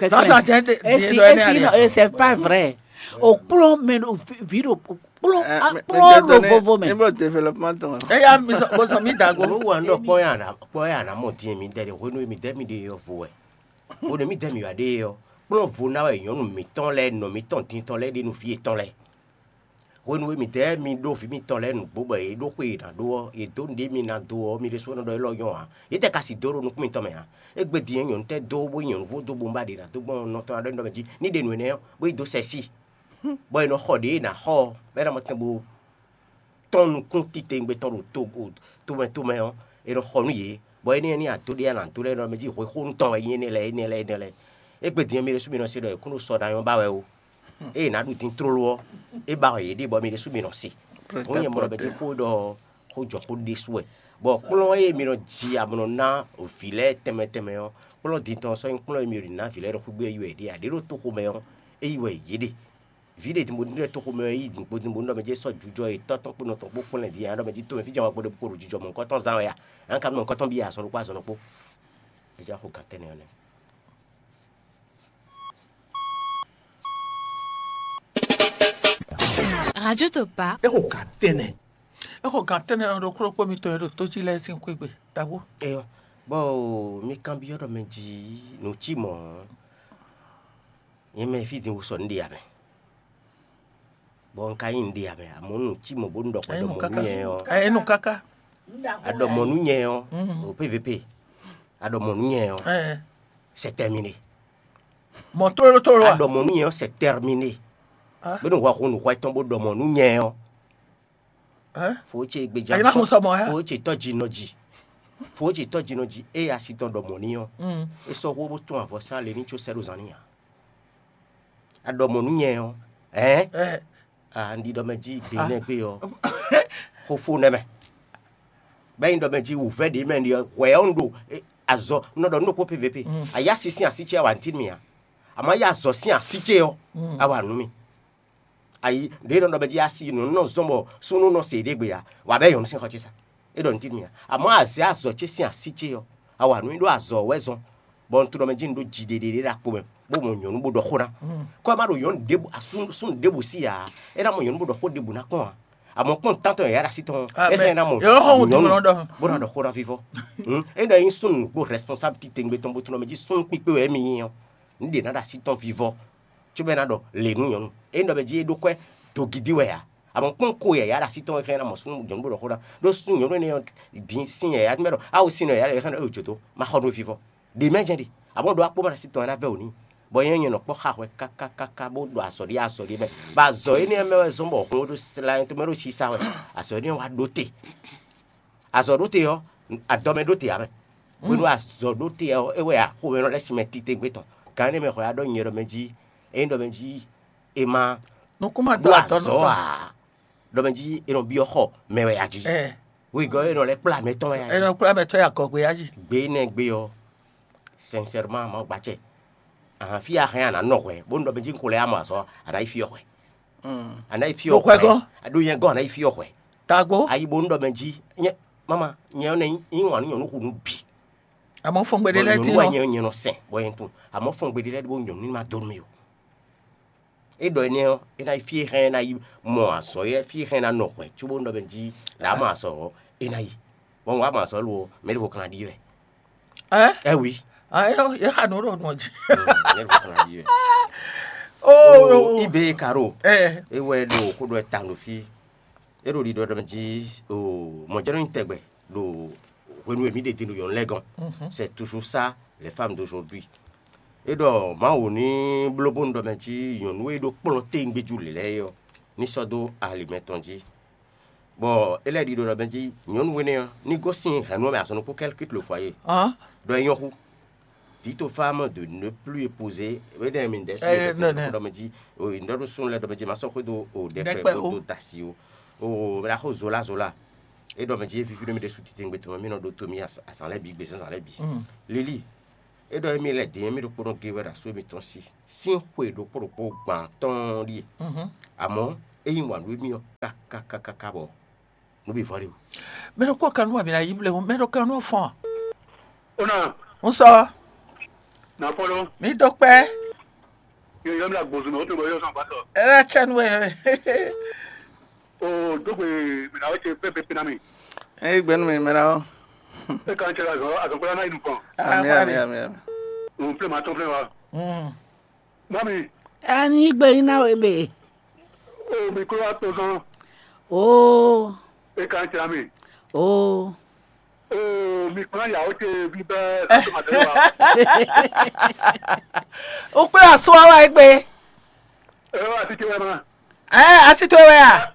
Zǎnzǎn jɛ. Esi esi nɔ c'est pas vrai. O kplɔ́n mɛ ɖo vi ɖo kplɔ́n kplɔ́n ɖo vovo mɛ. Níbo développement tɔn. Eya mi sɔ bó sɔ mi dago. Olú wa ń ɖɔ kpɔ́ ya nà kpɔ́ ya nà mɔ dín mi dɛ ɖe hwenu mi dɛ mi ɖe yɔ vo wɛ. Hwenu mi dɛ mi wà ɖe yɔ kplɔ́n vo ná wɛ nyɔ̌nu mǐtɔn lɛ́ɛ nɔ mǐtɔn din tɔn lɛ́ɛ ɖe nú vǐ yětɔn lɛ́ɛ. Hwenu e mǐdɛɛ mi ɖó vǐ mitɔn lɛ́ɛ nǔgbó bɔ yě ɖó xwe e è nǎ ɖó ɔ́, yě dó nǔɖé mi ná dó ɔ́, mi ɖésúnɔ ɖɔ élɔ́ nyɔ́ ǎ. Yě tɛ ka si dó ɖo nukún mitɔn mɛ ǎ. Égbé din é nyɔ̌nu tɛ́ dó bó nyí nyɔ̌nu vo dó bo ba ɖě ná dó gbɔn nɔ tɔn ná ɖɔ nyi ɖɔ mɛ jí ní ɖe nǔ énɛ́ ɔ́, bó yi dó sɛ sí, bɔ è nɔ xɔ ɖě è nǎ xɔ ɔ́, bɔ é ná mɔ tɛn bó tɔ́n nukún titewungbe tɔn ɖo to tomɛ tomɛ ɔ́, è nɔ xɔ nú yě, bɔ énɛ́ ní adó ɖé a nǎ dó lɛ́ɛ nɔ mɛ jí hwexónu tɔn wɛ nyí énɛ́ lɛ́ɛ énɛ́ lɛ́ɛ énɛ́ lɛ́ɛ. Égbé din é mi ɖésú mi nɔ se ɖɔ è kún ɖo sɔ ná nyɔ́ ba wɛ ó. Ée è nǎ ɖu din tlóló ɔ́, é ba wɛ yě ɖe bɔ mi ɖésú mi nɔ se. Hǔn nyɛ mɔ ɖɔ mɛ jí xó ɖɔ xó jɔ xó ɖésú wɛ. Bɔ kplɔ́n e mi nɔ ji amlɔ ná vǐ lɛ́ɛ tɛnmɛ tɛnmɛ ɔ́, kplɔ́n din tɔn sɔ́ nyí kplɔ́n e mi ɖi ná vǐ lɛ́ɛ ɖo xwígbé yi wɛ ɖe ǎ. Ɖě ɖo toxomɛ ɔ́, é yi wɛ yě ɖe. Vǐ ɖě din bó ɖo toxomɛ ɔ́ yi nǔgbó din bó ɖɔ mɛ jí sɔ́ jujɔ e tɔ́ tɔn kpó nɔ tɔn kpó kplɔ́n din ǎ ɖɔ mɛ jí tomɛ fí jɛ́n wá gbɔdɔ kpo ɖo jujɔ mɔ̌hunkɔtɔn zán wɛ a? Ǎ ka nɔ mɔ̌hunkɔtɔn byɔ́ azɔn ɖokpó azɔn ɖokpó. É jɛ xo gǎn tɛnɛ ɔ́ nɛ́. Radio Topa. É xo gǎn tɛnɛ. É xo gǎn tɛnɛ ɔ́ ɖokpó ɖokpó mitɔn e ɖo tó jí lɛ́ɛ sín xwé gbe. Tabu. Eyɔ, bɔ mi kanbyɔ́ ɖɔ mɛ jí nǔ cí mɔ̌. Nyɛ mɛ fí din wú sɔ nǔ ɖe amɛ. Bɔ un ka nyí nǔ ɖe amɛ, amɔ̌ nǔ cí mɔ̌ bónú ɖɔ xwɛ ɖɔ mɔ̌ nú nyɛ ɔ́. Enu kaka. A ɖɔ mɔ̌ nú nyɛ ɔ́, o P V P. A ɖɔ mɔ̌ nú nyɛ ɔ́, c'est terminé. Mɔ̌ tlóló tlóló a? A ɖɔ mɔ̌ nú nyɛ ɔ́, c'est terminé. Bónú hwɛ hun nǔ hwɛ tɔn bó ɖɔ mɔ̌ nú nyɛ ɔ́, fó ce gbeja. Fó ce tɔ́ jí nɔ jí. Fó ce tɔ́ jí nɔ jí ée asi tɔn ɖɔ mɔ̌ n'i ɔ́, é sɔ́ xó bó tún avɔ sín alě ní có sɛ́ ɖo zan n'i ǎ. A ɖɔ mɔ̌ nú nyɛ ɔ́, ɛ̌? Un ɖi ɖɔ mɛ jí gbe nɛ́ gbé ɔ́, xó fó nɛ́ mɛ. Bɛ́ nyi ɖɔ mɛ jí wǔvɛ́ ɖě mɛ ɖi ɔ́, hwɛ̌ ɔ́ un ɖo azɔ un nɔ ɖɔ nú ɖokpó P V P. Ayá sín así ce a wa nǔ tín mì ǎ. Àmọ́ yá azɔ̌ sín así ce ɔ́, a wa nǔ mì. Ayi ɖě nɔ ɖɔ mɛ jí asi nǔ nɔ zɔn bɔ súnnu nɔ se ɖé gbe ǎ, wǎ bɛ nyɔ̌nu sín xɔ ce sa. É ɖɔ nǔ tín mì ǎ. Àmọ́ azě azɔ̌ ce sín así ce ɔ́, a wa nǔ nyi ɖó azɔ̌ wɛ zɔn, bɔ un tunɔ mɛ jí un ɖó jiɖeɖe ɖé ɖo akpo mɛ, bó mɔ nyɔ̌nu bó ɖɔ xó ná. Kɔ́ ɛ má ɖo nyɔ̌nu ɖěbǔ súnnu ɖěbǔ sí ǎ, é ná mɔ nyɔ̌nu bó ɖɔ xó ɖěbǔ ná kpɔ́n ǎ. Àmọ́ kpɔ́n tántɔn yǎyá ɖo así tɔn ɔ́, é hɛn ná mɔ nyɔ̌nu bó ná ɖɔ xó ná vívɔ́. É ɖɔ nyí súnnu nǔgbó responsable titewungbe tɔn bó tunɔ mɛ jí súnnu kpíkpé wɛ émí nyí ɔ́, nǔ ɖě ná ɖo así tɔn vívɔ́. Cóbɔ é ná ɖɔ lě nú nyɔ̌nu. É nɔ mɛ jí é ɖó kwɛ́ dogidi wɛ ǎ. Amɔ kpɔ́n ko yǎyá ɖo así tɔn wɛ xlɛ́ ná mɔ súnnu nyɔ̌nu bó ɖɔ xó ná. Ɖó súnnu nyɔ̌nu énɛ́ ɔ́ din sín yǎyá mɛ ɖɔ awu sín nɔ yǎyá ɖɔ xlɛ́ ná jǒ dó ma xɔ nú fífɔ. Ɖě mɛ jɛ́n ɖe. Amɔ ɖó akpó ma ɖo así tɔn wɛ ná vɛ́ wǒ n'i. Bɔ nyɛ nyɛ nɔ kpɔ́ xa hwɛ kákákáká bó ɖo azɔ̌ ɖi azɔ̌ ɖi mɛ. Bɔ azɔ̌ énɛ́ mɛ wɛ zɔ́n bɔ hǔn ɖó sla tɔn mɛ ɖó sisa wɛ. Azɔ̌ énɛ́ wá ɖó te. Azɔ̌ ɖó te ɔ́, adɔ mɛ ɖó te ǎ mɛ. Hwenu azɔ̌ ɖó te ɔ́, é wɛ axomɛ nɔ lɛ́ sin mɛ titewungbe tɔn. Gǎn énɛ́ mɛ hwɛ wá ɖɔ nyɛ ɖɔ mɛ jí, é nyí ɖɔ mɛ jí è ma Nukúnmɛ ɖó dó azɔ̌ ǎ. Ɖɔ mɛ jí è nɔ byɔ́ xɔ mɛ wɛ a jí. Wegɔ́ é nɔ lɛ́ kplá mɛ tɔn wɛ a È jí. Nɔ kplá mɛ tɔn ya gɔgbe ya jí. Gbe énɛ́ gbe ɔ́, sincèrement ma gbacɛ. Ahan fí a hɛn a nǎ nɔ hwɛ, bónú ɖɔ mɛ jí un ko lɛ́ ya mɔ azɔ̌, a nǎ yi fí ɔ́ hwɛ. A nǎ yi fí Ɖo ɔ́ hwɛ hwɛ. Gɔ́. A ɖó nyɛ gɔ́ a nǎ yi fí ɔ́ hwɛ. Tagbó. A yi bónú ɖɔ mɛ jí nyɛ mama nyɛ ɔ́ nɛ nyí wǎn nú nyɔ̌nu xu nú bǐ. Àmọ́ fɔngbe ɖé Bɔ lɛ́ɛ nyɔ̌nu dín wɛ ɔ́. Nyɛ nyɛ nɔ sɛn bɔ nyɛ tún. Àmọ́ fɔngbe ɖé lɛ́ɛ ɖó nyɔ̌nu ní ma dó nú mì o. É ɖɔ énɛ́ ɔ́, é ná yi fí e hɛn é ná yi mɔ azɔ̌ é fí e hɛn é ná nɔ hwɛ̌ cóbónú ɖɔ mɛ jí ɖǎ mɔ azɔ̌ ɔ́, é ná yi. Bɔ un wá mɔ azɔ̌ lo ɔ́, mɛ ɖěvo kan ná ɖi wɛ. Ɛ? Ɛ wi. Ah, é, é xa nǔ ɖo nɔ jí. Mɛ ɖěvo kan ná ɖi wɛ. Oh, Ibe Karo. Ɛ. É wɛ ɖo xó ɖɔ ta ɖo fí. É ɖo ɖiɖɔ ɖɔ mɛ jí o mɔ̌jɛ́nú nyi tɛgbɛ ɖo hwenu e mǐ ɖe din ɖo nyɔ̌nu lɛ́ɛ gɔ́n. C'est toujours ça, les femmes d'aujourd'hui. É ɖɔ Mawu ní bló bónú ɖɔ mɛ jí nyɔ̌nu e ɖó kplɔ́n téwúngbéjú lě lɛ́ɛ é ɔ́, ní sɔ́ dó ali mɛtɔn jí. Bɔ é lɛ́ ɖiɖɔ ɖɔ mɛ jí nyɔ̌nu énɛ́ ɔ́, ní gosín hɛ̌nnu ɔ́ mɛ azɔn ɖokpó kɛ́lkít lo fɔ ayé. Ɖɔ é nyɔ́ xú. Dit aux femmes de ne plus épouser. Énɛ́ mi ɖɛ su Eh, ɖɔ mɛ jí o ɖɔ ɖo súnnu lɛ́ɛ ɖɔ mɛ jí ma sɔ́ xwé dó o ɖɛkpɛ Ɖɛkpɛ bó o. Dó dasi o. O mɛ ɖaxó zola zola. É ɖɔ mɛ jí é víví nú mì ɖésú titewungbe tɔn mɛ mì nɔ ɖótó mì azǎn lɛ́ɛ bǐ, gbězánzǎn lɛ́ɛ bǐ. Lilí, é ɖɔ émí lɛ́ din émí ɖokpónɔ géwɛ́ ɖo asú émítɔn sí sín xwe ɖokpó ɖokpó gbǎn tɔn ɔ́ ɖíe. Amɔ̌, é yí wǎn nú émí ɔ́ káká káká bɔ nǔ bǐ vɔ ɖe o. Mɛ ɖokpó kan nú abǐ ná yí blɛ́ mɛ ɖo kan nú fɔn. Ona. Un sɔ. Na fɔlɔ. Mi dó kpɛ. Yɔ yɔ mi la gbɔzun na o tun bɔ yɔ sɔn ba sɔ. Ɛ la cɛ nu ɛ. O dogbe mi na o ce pɛ pɛ pɛ na mi. Ɛ gbɛnu mi mɛ na o. E kan cɛ la zɔn azɔn kpɛ na yi nu kɔn. Ami ami ami ami. O filɛ ma tɔn filɛ wa. Mm. Mami. Ani gbe ina we be. O mi klo wa to zɔn. O. E kan cɛ mi. O. Oo, mi kplɔ́n yǎwó ce bíbɛ́ sɔ́tɔ́mɔtɔ́ wa. O kplé asú ɔ́ wá égbé. Ɛ wá sí ce wɛ ma. Ɛ asi towe wɛ a?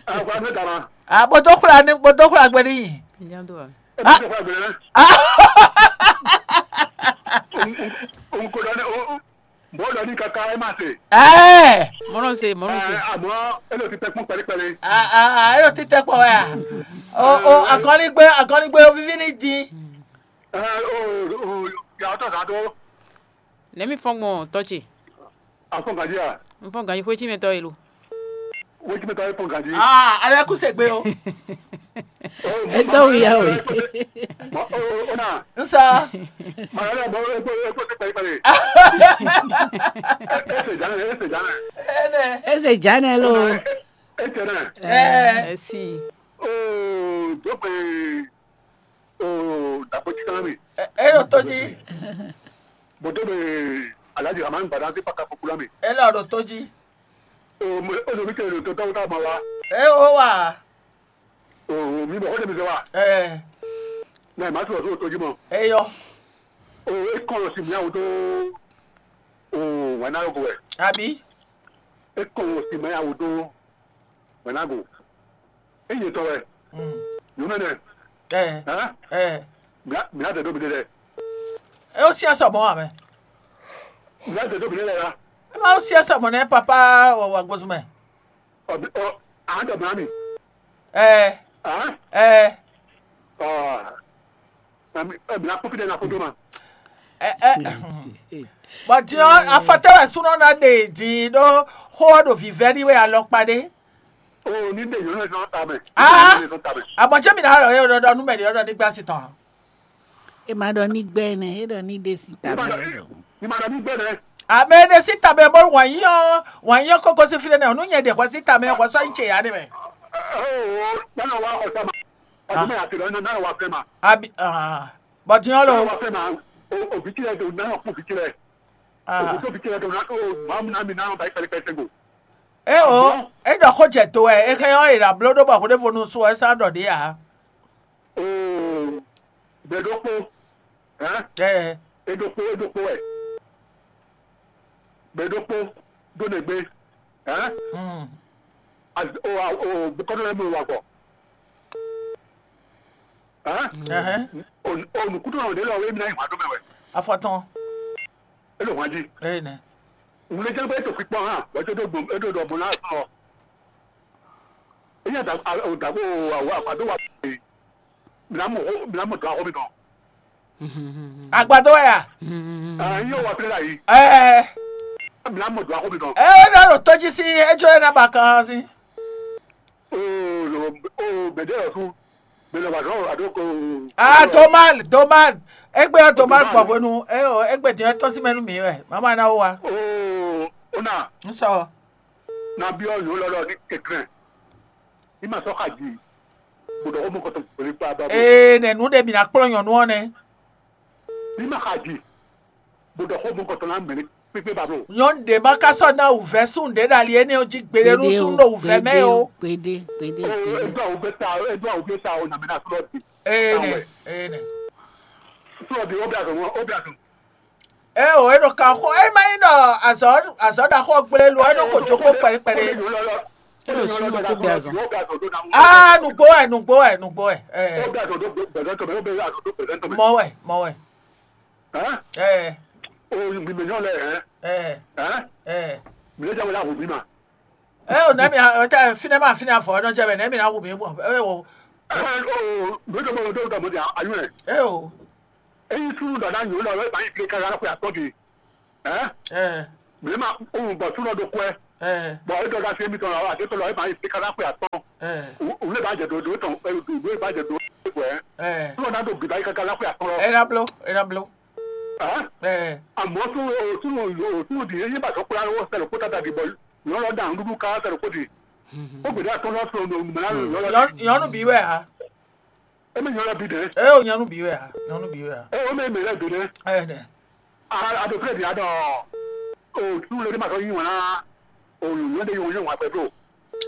Ɛ wá mɛ dama. A bó dó xwla ní bó dó xwla gbé n'i. Ɛ bí tó fà gbẹ̀rẹ̀ náà. N kò dání o. Bɔ̌ ɖɔ n'i káká é ma se. Ɛɛ. Mɔnɔ se, mɔnɔ se. Ɛ, àmọ́ é lè fi tɛkpɔn kpɛlíkpɛlí. A a a é ló títẹ́ pọ̀ wɛ a. O o akɔnigbe akɔnigbe o vivi ni di. Ɛ o o yàrá tó sá tó. Nɛmi fɔn gbɔn tɔ ce. Afɔn gadi a. N fɔn ganji xwé tí mi tɔ yi lo. Wéjì mẹ́ta é pọn gàdí. Ah, alẹ́ kú sègbè o. Ó mọ Ẹ tọ́ wù yá o. Ó nà. N sọ. Màá lọ bọ epo epo ti pẹ̀lú pẹ̀lú. Ẹ ṣe jáde, ẹ ṣe jáde. Ẹnẹ. Ẹ ṣe jáde lo. Ẹ ṣe náà. Ẹ. Ẹ sì. Ó dókè ó dàpọ̀ títí náà mi. Ẹ yóò tó jí. Bọ̀dé mi Alhaji Rahman Gbadá sí Paka Popula mi. Ẹ lọ rò tó jí. O mi tẹ̀lé tó tọ́wọ́ tá a ma wa. Ẹ ó wà. O mi bọ̀ ó dẹ̀ mi sẹ́ wa. Ẹ. Náà ìmá sọ̀rọ̀ sóò tójú mọ́. Ẹ yọ. O e kọ́ lọ sí mi àwọn tó o wà náà yóò bọ̀ wẹ̀. Àbí. É kɔn wɔ sin mɛ ya wò dó wɛ̌nàgò. É nyɛ tɔn wɛ. Mm. Nyɔ̌nu ɛnɛ. Ɛ, Hɛn? Ɛ. Mǐ á dɛ dó miɖée lɛ́ɛ. É ó syɛ́n sɔ mɔ̌ ǎ mɛ. Mǐ á dɛ dó miɖée lɛ́ɛ la. É má ó syɛ́n sɔ mɔ̌ nɛ́ papá wɔ wɔ agbózún mɛ. Ɔ, ɔ, a dɛ mlá mi. Ɛ, Hɛn? Ɛ. Ɔ, mǐ á kpɔ́ fí ɖé na kó dó ma. Ɛ, ɛ. Bɔ din ɔ́, afɔtɛ́ wɛ súnɔ ná ɖe din ɖó xó ɔ́ ɖo vǐvɛ́ n'i wɛ alɔkpa ɖé. O ní ɖe nyɔ̌nu ɛ sɔn ta mɛ. Ah! Ní ɖe nyɔ̌nu ɛ sɔn ta mɛ. Àmọ́ jẹ́ mi náà rọ̀ yóò ɖɔɖɔ nú mɛ̀lẹ́ ọ̀dọ̀ nígbà sí tán. Ema ɖɔ ní gbɛ nɛ, e ɖɔ ní ɖe si ta Ní ma mɛ ɖɔ e ɖɔ. Ní ma ɖɔ ní gbɛ nɛ. Àmì ɖe sí tàbí bó wà yín ọ́, wà yín ọ́ kókó sí fílẹ̀ náà, nú nyɛ ɖe xɔ sí tàmí xɔ sɔ yín tse yá ni mɛ. Ó nánà wá xɔ sá ma. Ọdún mẹ́rin àti ìrọ̀lẹ́ náà wá fẹ́ ma. Àbí bọ̀dìyàn lò. Náà wá fẹ́ ma. Òbí tí ẹ dùn náà kú òbí tí ẹ. Ah, Òbí tó fi tí ẹ dùn náà ó máa mú náà mi náà bá ìpẹ́lẹ́ pẹ́ sẹ́gbò. E o, e ɖɔ xó jɛ to wɛ, e xɛ ɔ́, e ɖo abló ɖó bɔ xó ɖěvo nu su ɔ, e sá ɖɔ ɖě ǎ. Oo, gbɛɖokpó, hɛn? Ɛ, Eɖokpó, eɖokpó wɛ. Gbɛɖokpó, dó nɛgbé, hɛn? Mm. Az- O, a- o, bukɔnɔ lɛ́ɛ mɛ wa gbɔ. Hɛn? Ɛhɛn. O, o nukúntɔn ɖě lɔ wɛ mi ná yi hwǎn dó mɛ wɛ. Afɔtɔn. É ɖo hwǎn jí. Eye nɛ. Ŋlɛjɛ́n bɛ é to kpikpɔ́ hã, bɔ é to dó gbɔn é to ɖɔ gbɔn ná sɔ. É nya da o da ko awo agbadó wa. Mǐ ná mɔ mǐ ná mɔ dɔ̌n axɔ́ mitɔn. Agbadó wɛ a? Aa yíyó wa plé la yìí. Ɛɛ. Mǐ ná mɔ dɔ̌n axɔ́ mitɔn. Ɛ ná ɖo tɔjí sí ejó ɛ ná ba kan sí. Oo, oo, bɛ̌dɛ́ ɔ́ sú. Mɛ lɔ wà dɔ̌n ado ko. Ah, Domal, Domal. Egbe ɔ́ Domal gbɔ hwenu. Ɛ o, egbe din ɔ́ tɔ́n sí mɛ nú mǐ wɛ. Mama ná wó wa. Oo, ó nà. Ń sɔ. Ná byɔ́ yǒ lɔlɔ ní kɛnklɛ́n. Ní ma sɔ́ xa ji. Bó ɖɔ xó mɔ kɔtɔn gbělé kpá bá bó. Ee, nɛ nǔ ɖe mǐ ná kplɔ́n nyɔ̌nu ɔ́ nɛ́. Ní ma xa ji. Bó ɖɔ xó mɔ kɔtɔn ná mɛ ní kpékpé bá bó. Nyɔ̌nu ɖě ma ka sɔ́ ná wǔvɛ́ sún ɖě ɖo ali énɛ́ ɔ́ jí gbeɖé nú Kpédé o, sún ɖo wǔvɛ́ mɛ kpédé o. o, kpédé, kpédé, Ee, kpédé. Edó awu gbé ta, edó awu gbé ta o, nà mɛ ná sɔ́ di. Ee nɛ, ee nɛ. Sɔ́ di, ó bí azɔn, ó bí azɔn. Eo, é ɖo kan xo, é má nyí ɖɔ azɔ̌ azɔ̌ ɖaxó ɔ́ gblé lo, é nɔ ko jókòó kpɛɖé kpɛɖé. Ó lè sún lóko gbé azɔn. Aa, nǔgbó wɛ, nǔgbó wɛ, nǔgbó wɛ. Ɛ, mɔ wɛ, mɔ wɛ. Ɛ, ɛ, Ɛ, o nɛ́ mi ɔtɛ fínɛ́ ma fínɛ́ afɔ ɔ́ nɔ jɛ mɛ nɛ́ mi ná hu mǐ gbɔn. Ɛ, o. Ɛ, o. Ɛ, o. Eyi súnnu ɖɔ ná nyɔ̌nu ɔ́, é ma nyí gblé káká xwe atɔ́ gbe. Ɛ? Ɛ, Mǐ ma kpɔ́n bɔ súnnu ɔ́ ɖo kwɛ́, ɛ, bɔ é ɖɔ ɖo así émítɔn lɔ, àti étɔn lɔ, é ma nyí gblé káká xwe atɔ́. Ɛ, Wǔ lé ba jɛ dǒ dǒ tɔn, wǔ lé ba jɛ dǒ é gbɔ ɛ. Ɛ, Súnnu ɔ́ ná ɖo bǐbá yi káká ná xwe atɔ́ lɔ. É ná bló, é ná bló. Ɛ? Ɛ, Àmọ́ súnnu súnnu súnnu ɖi é nyí ba sɔ́ kplá wɔ sɛ ɖo kpó tata ɖi bɔ nyɔ̌nu ɔ́ ɖa nǔɖuɖu ká sɛ ɖo kpó ɖi. Ó gbědé atɔ́ lɔ sɔn ɖo mɛ ná lɔ. Nyɔ̌nu bǐ wɛ a? É mɛ nyɔ̌nu ɔ́ bǐ ɖɛ̌. Ɛ, o nyɔ̌nu bǐ wɛ a? Nyɔ̌nu bǐ wɛ a? Ɛ, ó mɛ mɛ lɛ́ɛ dǒ ɖɛ̌. Ɛ, nɛ. A a ɖo fúlɛ ɖi aɖɔ o tún lé ní ma sɔ́ yí wǎn ná o nyɔ̌nu ɖé yí wǎn yí wǎn gbɛ bló.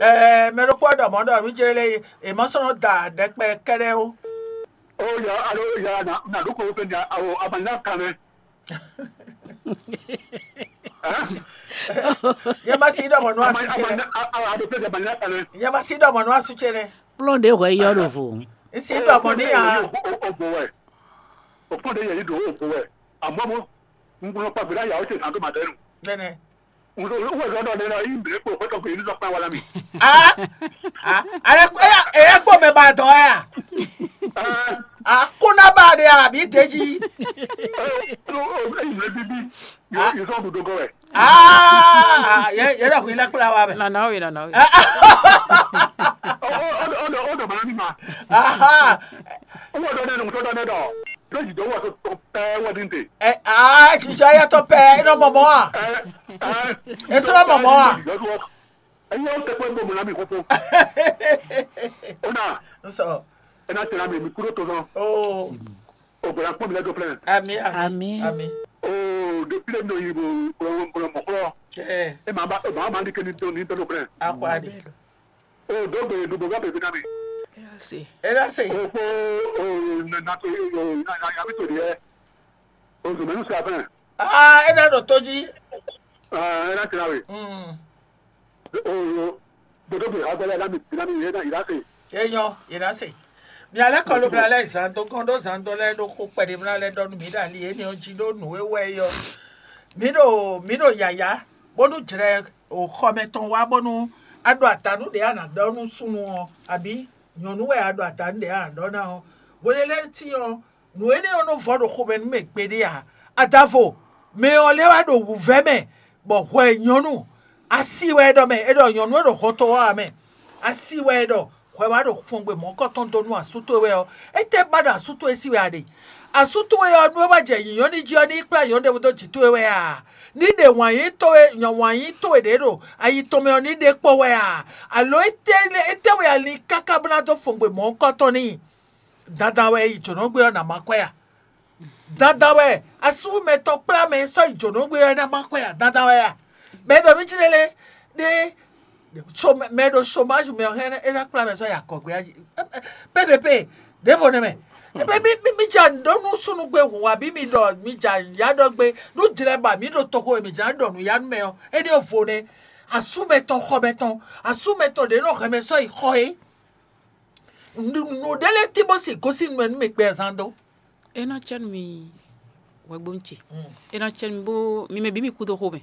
Ɛɛ, mɛ ɖokpó ɔ́ ɖɔ mɔ̌ ɖɔ mǐ jɛ lé è mɔ sɔ́ nɔ da ɖɛkpɛ kɛ́ɖɛ́ ó. O yà alo yà nà nà ɖó kó fɛn nya o abanyá kan mɛ. Nyɛ ma si ɖɔ mɔ̌ nú asú ce nɛ. Abanyá kan mɛ. Nyɛ ma si ɖɔ mɔ̌ nú asú ce nɛ. Kplɔ́n ɖě hwɛ yɔ ɖo vo. N si ɖɔ mɔ̌ n'i a. O bo wɛ. O kpɔ́n ɖě yɛ yí ɖo o bo wɛ. Àmọ́ mo un gbọ́dọ̀ pa gbèdá yàwó ce sàn tó màdẹ́nu. Nɛnɛ. Wọ́n sọ wọ́n sọ dɔ nínú yìí bèrè kó kótó kò yìí sọ pé wà lámì. Ah, ah, ale ko ya eya ko mɛ ba dɔ ya. Ah, ko na ba de ya bi deji. Ɛyìn lè bíbí yóò sọ òdòdó gọ rẹ. Ah, ye ye dɔ hui lɛ kpla wa mɛ. Nana o ye nana o ye. Ó dọ̀ bàrà mi ma. Aha. Wọ́n dọ̀ nínú tó dọ̀ nínú. Lójijì wọ́n tó pẹ́ wọ́n dín tè. Ɛ, aa, jijɔ yɛ tɔ pɛ, e nɔ mɔ mɔ a? Ɛ, ɛ, E sɔ mɔ mɔ a? Ẹ̀yin ó tẹ́ pé gbogbo náà mi kókó. Ó náà, N sɔ. Ẹ náà tẹ̀lé mi, mi kúrò tó sán. Oo. Ògbóná pọ́n mi lẹ́jọ́ plẹ́n. Ami, ami, Ami. Ami. Oo, de pílẹ̀ mi ò yí bo gbọ̀ngbọ̀n mọ̀ kúrọ̀. Ɛ, Ẹ máa bá ẹ máa máa ní kéde tó ní tọ́jú plẹ́n. Akwa de. Oo, dó gbèrè dùgbò bá bèbí náà mi. E na se. Oo, kó oo, nà nà tó oo, nà nà yà mí tò dìé. Oo, zòmẹ́nu se àfẹ́. Aa, e na ɖo to jí. Aa, ẹ náà tẹ̀lé mi. Mm. Oyo, dodo bi ha gbɛlɛ na mi na mi yɛ na ira se. Eyɔ, ira se. Mi alɛ kɔlu bla lɛ zan do kɔn do zan do lɛ do ko kpɛɖe bla lɛ dɔ nu mi ɖe ali ene ɔ jí ɖo nǔ e wɛ yɔ. Mi ɖo mi ɖo yaya bónú jlɛ o xɔmɛ tɔn wá bónú a ɖo atanu ɖe a nǎ ɖɔ nú súnnu ɔ abi nyɔ̌nu wɛ a ɖo atanu ɖe a nǎ ɖɔ ná ɔ. Hwelelɛ́ti ɔ, nǔ énɛ́ ɔ́ nɔ vɔ ɖo xomɛ nú mɛ gbeɖé ǎ. Adavo, mɛ ɔ́ lɛ́ wá ɖo wǔvɛ́ mɛ, bɔ hwɛ nyɔ̌nu, asi wɛ é ɖɔ mɛ, é ɖɔ nyɔ̌nu e ɖo hɔn tɔn wá ǎ mɛ. Asi wɛ é ɖɔ hwɛ wá ɖo kpɔ́ngbwe mɔ̌kɔtɔn dó nú asú towe wɛ ɔ́, étɛ́ ba ɖo asú towe sí wɛ a ɖe? Asú towe ɔ́, nú é wá jɛ nyǐnyɔ́ ní jí ɔ́, ní yi kplá nyɔ̌nu ɖěvo dó jǐ towe wɛ a? Ní ɖe wǎn yí towe nyɔ wǎn yí towe ɖě ɖo ayi tɔn mɛ ɔ́ ní ɖe kpɔ́ wɛ a? Alo étɛ́ étɛ́ wɛ a lin káká bó ná dó fɔn gbe mɔ̌hunkɔtɔn n'i? Dandan wɛ yi jǒnɔgbé ɔ́ ná má kwɛ a? Dandan wɛ asúmɛ tɔn kplá mɛ e sɔ́ yi jǒnɔgbé ɔ́ ná má kwɛ a? Dandan wɛ a? Mɛ e ɖɔ mí jí lélé ɖé mɛ e ɖo chômage mɛ ɔ́ hɛn é ná kplá mɛ sɔ́ yi akɔgbé a? P V P ɖěvo nɛ́ mɛ. Ebe mí mí mí ja ɖó nú súnugbe hǔn abǐ mi ɖɔ mi ja ya ɖɔ gbe nú jlɛ ba mǐ ɖo toxo e mǐ jlá ɖɔ nǔ ya nú mɛ ɔ́, énɛ́ ɔ́ vo nɛ́. Asúmɛ tɔn xɔmɛ tɔn asúmɛ tɔn ɖě nɔ hɛn mɛ sɔ́ yi xɔ é. Nǔɖé lɛ́ɛ tín bó si gosín nú mɛ nú mɛ gbɛ zán dó. É ná cɛ nú mi hwɛgbónu ce. É ná cɛ nú mi bó mi mɛ bǐ mi kú dó xomɛ.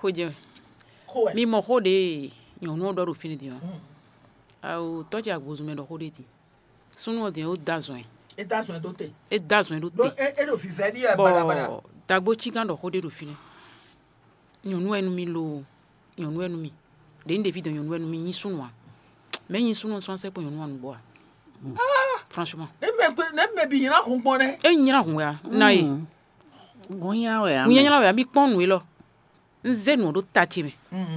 Xó jɛ mɛ. Mi mɔ xó ɖě nyɔ̌nu ɔ́ ɖɔ ɖo fínɛ́ din ɔ́. Awo tɔ́ ce agbozun mɛ ɖɔ xó ɖé din. Súnnu ɔ́ din é da zɔn ɛ. É da zɔn ɛ ɖó te. É da zɔn ɛ ɖó te. É ɖo vivɛ ní ɛ balabaɖa. Bɔ dagbo cígán ɖɔ xó ɖé ɖo fínɛ́. Nyɔ̌nu wɛ nú mì lo, nyɔ̌nu wɛ nú mì. Ɖě un ɖe fí dɔn nyɔ̌nu wɛ nú mì nyí súnnu ǎ. Mɛ̌ nyí súnnu sɔ́ sɛ́ kpɔ́n nyɔ̌nu anu gbɔ ǎ. Franchement. Ne mɛ bi nyina hun gbɔn nɛ. É nyina hun wɛ ǎ. Na ye. Gɔn nyina wɛ ǎ. Hun nyina wɛ ǎ. Mi kpɔ́n nǔ élɔ́. Un zé nǔ ɔ́ ɖó ta ce mɛ.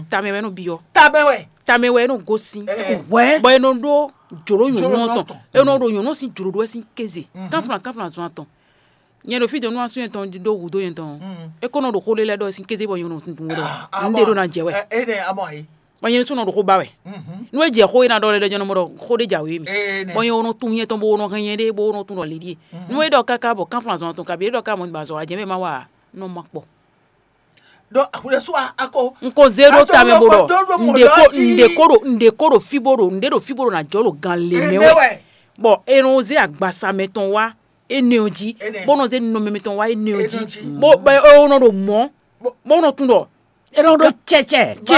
Tamɛ wɛ nɔ byɔ́. Tamɛ wɛ. Tamɛ wɛ nɔ gosín. Wɛ. Bɔ e nɔ ɖó jǒɖó nyɔ̌nu ɔ́ tɔn. E nɔ ɖo nyɔ̌nu ɔ́ sín jǒɖó wɛ sín kéze. Kánflán kánflán zɔn atɔn. Nyɛ ɖo fí dɔn nú asú nyɛtɔn ɖó hǔ dó nyɛtɔn. É kó nɔ ɖo xó ɖé lɛ́ɛ ɖɔ sín kéze bɔ nyɔ̌nu ɖo un ɖe ɖó ná jɛ wɛ. Bɔ nyɛ ɖésú nɔ ɖo xó ba wɛ. Nú é jɛ xó e ná ɖɔ lɛ́ɛ ɖɔ nyɔ́ nɔ mɔ ɖɔ xó ɖé jǎwe mì. Bɔ nyɛ nɔ tunwun nyɛtɔn bó nɔ hɛn nyɛ ɖé bó nɔ tunwun ɖɔ lě ɖíe. Nú é ɖɔ káká bɔ kánflán zɔn atɔn kabi é ɖɔ ká mɔ ba zɔ wá jɛ mɛ má wa nɔ ma kpɔ. Ɖó àkúɖésú akó. Un ko zé ɖó tamɛ bó ɖɔ un ɖe ko ɖo un ɖe ko ɖo fí bó ɖo un ɖe ɖo fí bó ɖo ná jɔ ɖo gan lě mɛ wɛ. Bɔ è nɔ zé agbasa mɛtɔn wá énɛ́ ɔ́ jí, bó nɔ zé nɔmɛ mɛtɔn wá énɛ́ ɔ́ jí, bó bɔ é nɔ ɖo mɔ̌, bó nɔ tunwun ɖɔ é nɔ ɖó cɛcɛ. Bɔ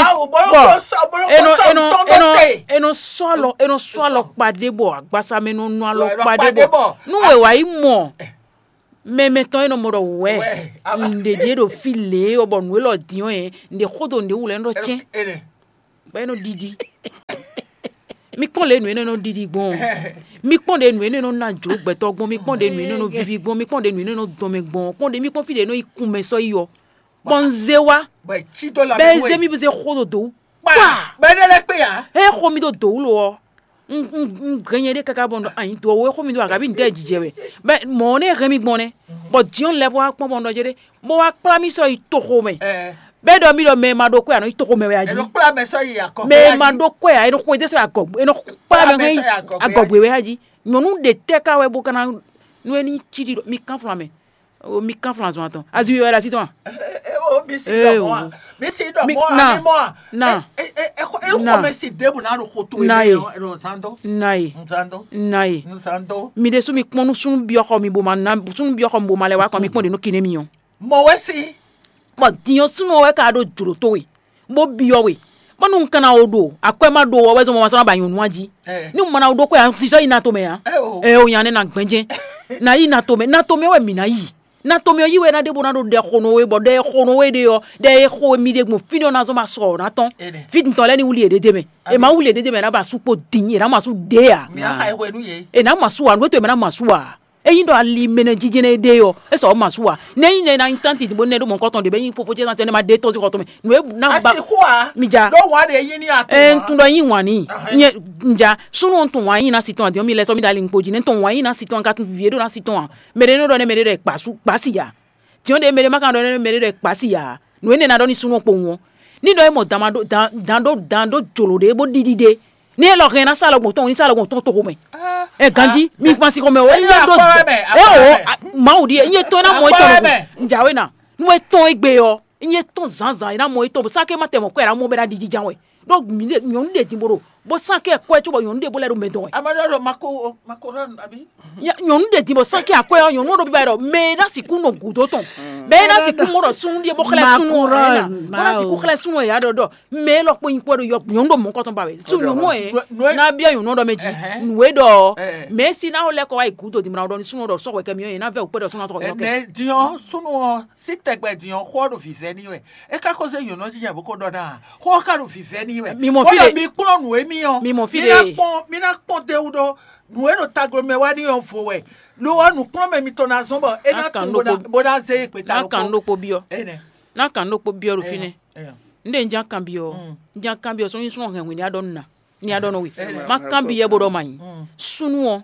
é nɔ é nɔ é nɔ é nɔ sɔ́ alɔ é nɔ sɔ́ alɔ kpa ɖé bɔ agbasa mɛ nɔ nɔ alɔ kpa ɖé bɔ nú wɛ wǎ yi mɔ mɛ mɛtɔn e nɔ mɔ ɖɔ wɛ un ɖe ɖíe ɖo fí lě ɔ́ bɔ nǔ élɔ́ din ɔ́, un ɖe xó dó nǔɖé wú lɛ́ɛ nɔ cɛ́n. Bɔ é nɔ ɖiɖi. Mi kpɔ́n lě nǔ énɛ́ nɔ ɖiɖi gbɔn. Mi kpɔ́n ɖě nǔ énɛ́ nɔ ná jlǒ gbɛtɔ́ gbɔn. Mi kpɔ́n ɖě nǔ énɛ́ nɔ víví gbɔn. Mi kpɔ́n ɖě nǔ énɛ́ nɔ dɔn mɛ gbɔn. Kpɔ́n ɖě mi kpɔ́n fí ɖě nɔ yi kun mɛ sɔ́ yi ɔ́. Bɔ un zé wá. Bɔ è cí dó la bɛ mɛ é nú zé ɛ. Mi bó zé xó ɖo dǒ wú. Kpa. Bɔ é ɖe lɛ́ kpé ǎ. É xó mi ɖo dǒ wú lo ɔ́. Un un un gɛn nyɛ ɖé káká bɔ un ɖɔ anyi dǒ ɔ́ é xó mi ɖo agabi un dɛ jijɛ wɛ. Bɛ mɔ̌ nɛ́ hɛn mi gbɔn nɛ́. Bɔ Jǐɔn lɛ́ vɔ wá kpɔ́n bɔ un ɖɔ jé ɖé. Bó wá kplá mì sɔ́ yi toxo mɛ. Bɛ́ ɖɔ mì ɖɔ mɛ e ma ɖó kwɛ́ ǎ nɔ yi toxo mɛ wɛ a jí. Mɛ e ma ɖó kwɛ́ ǎ é nɔ xwedó sɔ́ yi agɔgbe é nɔ kplá mɛ hɛn yi agɔgbe wɛ a jí. Nyɔ̌nu ɖe tɛ́ ká wɛ bó ka ná nú é ní cí ɖi mi kánflán mɛ. Mi kánflán zɔn atɔn. Aziwi wɛ ɖo así tɔn a? Mi si ɖɔ mɔ a? Mi si ɖɔ mɔ a? Mi mɔ a? Na. Xɔmɛ si ɖěbù ná ɖo xo towe mɛ ɔ zan dó. Na ye. Zan dó. Na ye. Zan dó. Mi ɖésú mi kpɔ́n nú súnnu byɔ́ xɔ mi bó ma ná súnnu byɔ́ xɔ mi bó ma lɛ wá kɔ mi kpɔ́n ɖě nɔ kiné mi ɔ́. Mɔ wɛ si. Bɔ din ɔ́ súnnu ɔ́ wɛ ka ɖó jlǒ towe, bó byɔ́ we, bónú un ka ná wo ɖo akwɛ́ ma ɖo ɔ́ wɛ zɔn bɔ ma sɔ́ ná ba nyɔ̌nu ɔ́ jí. Ní un ma ná wo ɖó kwɛ́ ǎ, un sixɔ yi na tomɛ ǎ. Ɛ o nya nɛ́ ná gbɛ́njɛ́n. Ná yi na tomɛ, na tomɛ wɛ mǐ ná yi. Na tomɛ ɔ́ yí wɛ ná ɖe bó ná ɖo ɖɛ xo nɔ we, bɔ ɖɛ e xo nɔ we ɖe ɔ́, ɖɛ e xo mi ɖe gbɔn fínɛ́ ɔ́ ná zɔ́n ba sɔ ɔ́ ná tɔ́n. Fí dintɔn lɛ́ɛ ní wlí yě ɖ'é mɛ. È má wlí yě ɖ'é mɛ, è nǎ ba sú kpo din, è nǎ ma sú ɖě ǎ. È nǎ ma sú ǎ, nǔ e to è mɛ ná ma sú ǎ. Ényí ɖɔ ali mɛ nɛ jijɛ nɛ ɖe ɔ́, é sɔ ma sú a. Nɛ ényí nɛ na nyi tánti bó nɛ ɖó mɔ̌kɔtɔn ɖě bɛ nyí fofó ce ná tɛnɛ ma ɖe tɔ́n sín xɔ tɔn mɛ. Nǔ e ná ba mi ja. Ɖó wǎn ɖe yí ní atɔn. Ɛ ntun ɖɔ yín wǎn ní. Nyɛ nja súnú ntun wǎn yín ná si tɔn àdìyɔn mi lɛ sɔ mi ɖo ali ŋkpo jí nɛ ntun wǎn yín ná si tɔn ka tun vivie ɖó ná si tɔn a. Mɛ ɖé nɔ ɖɔ nɛ mɛ ɖé ɖɔ kpa sú kpa si ya. Tiɔn ɖe mɛ ɖé ma ka ɖɔ nɛ mɛ ɖé ɖɔ kpa si ya. Nǔ énɛ́ ná ɖɔ ní súnú kpowun ɔ́. Ní ɖɔ é mɔ dan ma ɖó dan dan ɖó dan ɖó jlǒ ɖé bó ɖiɖi ɖé. Ní élɔ́ hɛn ná sá lɔ gbɔn tɔn ní sá lɔ gbɔn tɔn toxo mɛ. Ɛ ganjí mi kpan si xɔmɛ o. Ényí é ɖó é o Mawu ɖi ényí é tɔn é ná mɔ é tɔn lɔ gbɔn. Njawe na nú é tɔn é gbe ɔ. Nyɛ tɔn zǎnzǎn é ná mɔ étɔn bó sán ké má tɛ mɔ kɔ é ná mɔ bɛ ná ɖiɖi jan wɛ. Ɖó nyɔ̌nu ɖe din bó ɖo bó sán ké kwɛ cóbɔ nyɔ̌nu ɖe bó lɛ́ ɖo mɛ dɔn wɛ. Amadu ɖo mako mako ɖɔ abi. Nyɔ̌nu ɖe din bó sán ké akwɛ ɔ́ nyɔ̌nu ɖo bíbá ɖɔ mɛ é ná sixú nɔ gǔdo tɔn. Mɛ é ná sixú mɔ ɖɔ súnú ɖíe bó xlɛ́ súnú ɔ́. Bó ná sixú xlɛ́ súnú ɔ́ yǎ ɖɔ ɖɔ mɛ é lɔ kpó nyi kpó ɖo yɔ nyɔ̌nu ɖo mɔ̌ kɔtɔn ba wɛ. Sú nyɔ̌nu ɛ ná bia nyɔ̌nu ɖɔ mɛ jí nǔ e ɖɔ mɛ é sí ná lɛ́ kɔ wá yi gǔdo din mɔ ɖɔ ní súnú ɖɔ sɔ́ hwɛ kɛ mì ɔ́ yě ná vɛ wǔ kpé ɖɔ súnú ná sɔ́ hwɛ kɛ. Din ɔ́ súnú ɔ́ sí tɛgbɛ din ɔ́ xó ɔ́ ɖo vǐvɛ́ ní wɛ. É ka ko zé nyɔ̌nu ɔ́ jínjɔ́n bó ko ɖɔ ná ǎ. Xó ɔ́ ka ɖo vǐvɛ́ n'i wɛ. Mi mɔ fí ɖé. Mi kplɔ́n nǔ e mì ɔ́. Mi mɔ fí ɖé. Ná kpɔ́n mì ná kpɔ́n tɛwú ɖó nǔ e ɖo taglomɛ wá n'i ɔ́ vo wɛ. Lo ɔ́ nǔkplɔ́nmɛ mitɔn ná zɔ́n bɔ é ná tunwun bó ná zé e gbeta. Ná kan ɖokpó byɔ́. Énɛ́. Ná kan ɖokpó byɔ́ ɖo fínɛ́. Éyɔ. Un ɖe un ján kanbyɔ́ ɔ́. Un ján kanbyɔ́ sɔ́ nyí súnɔ hɛn hwenu ɖɔ nà ní a ɖɔ nɔ we. Má kanbyɔ́ bó ɖɔ ma nyí. Súnú ɔ́.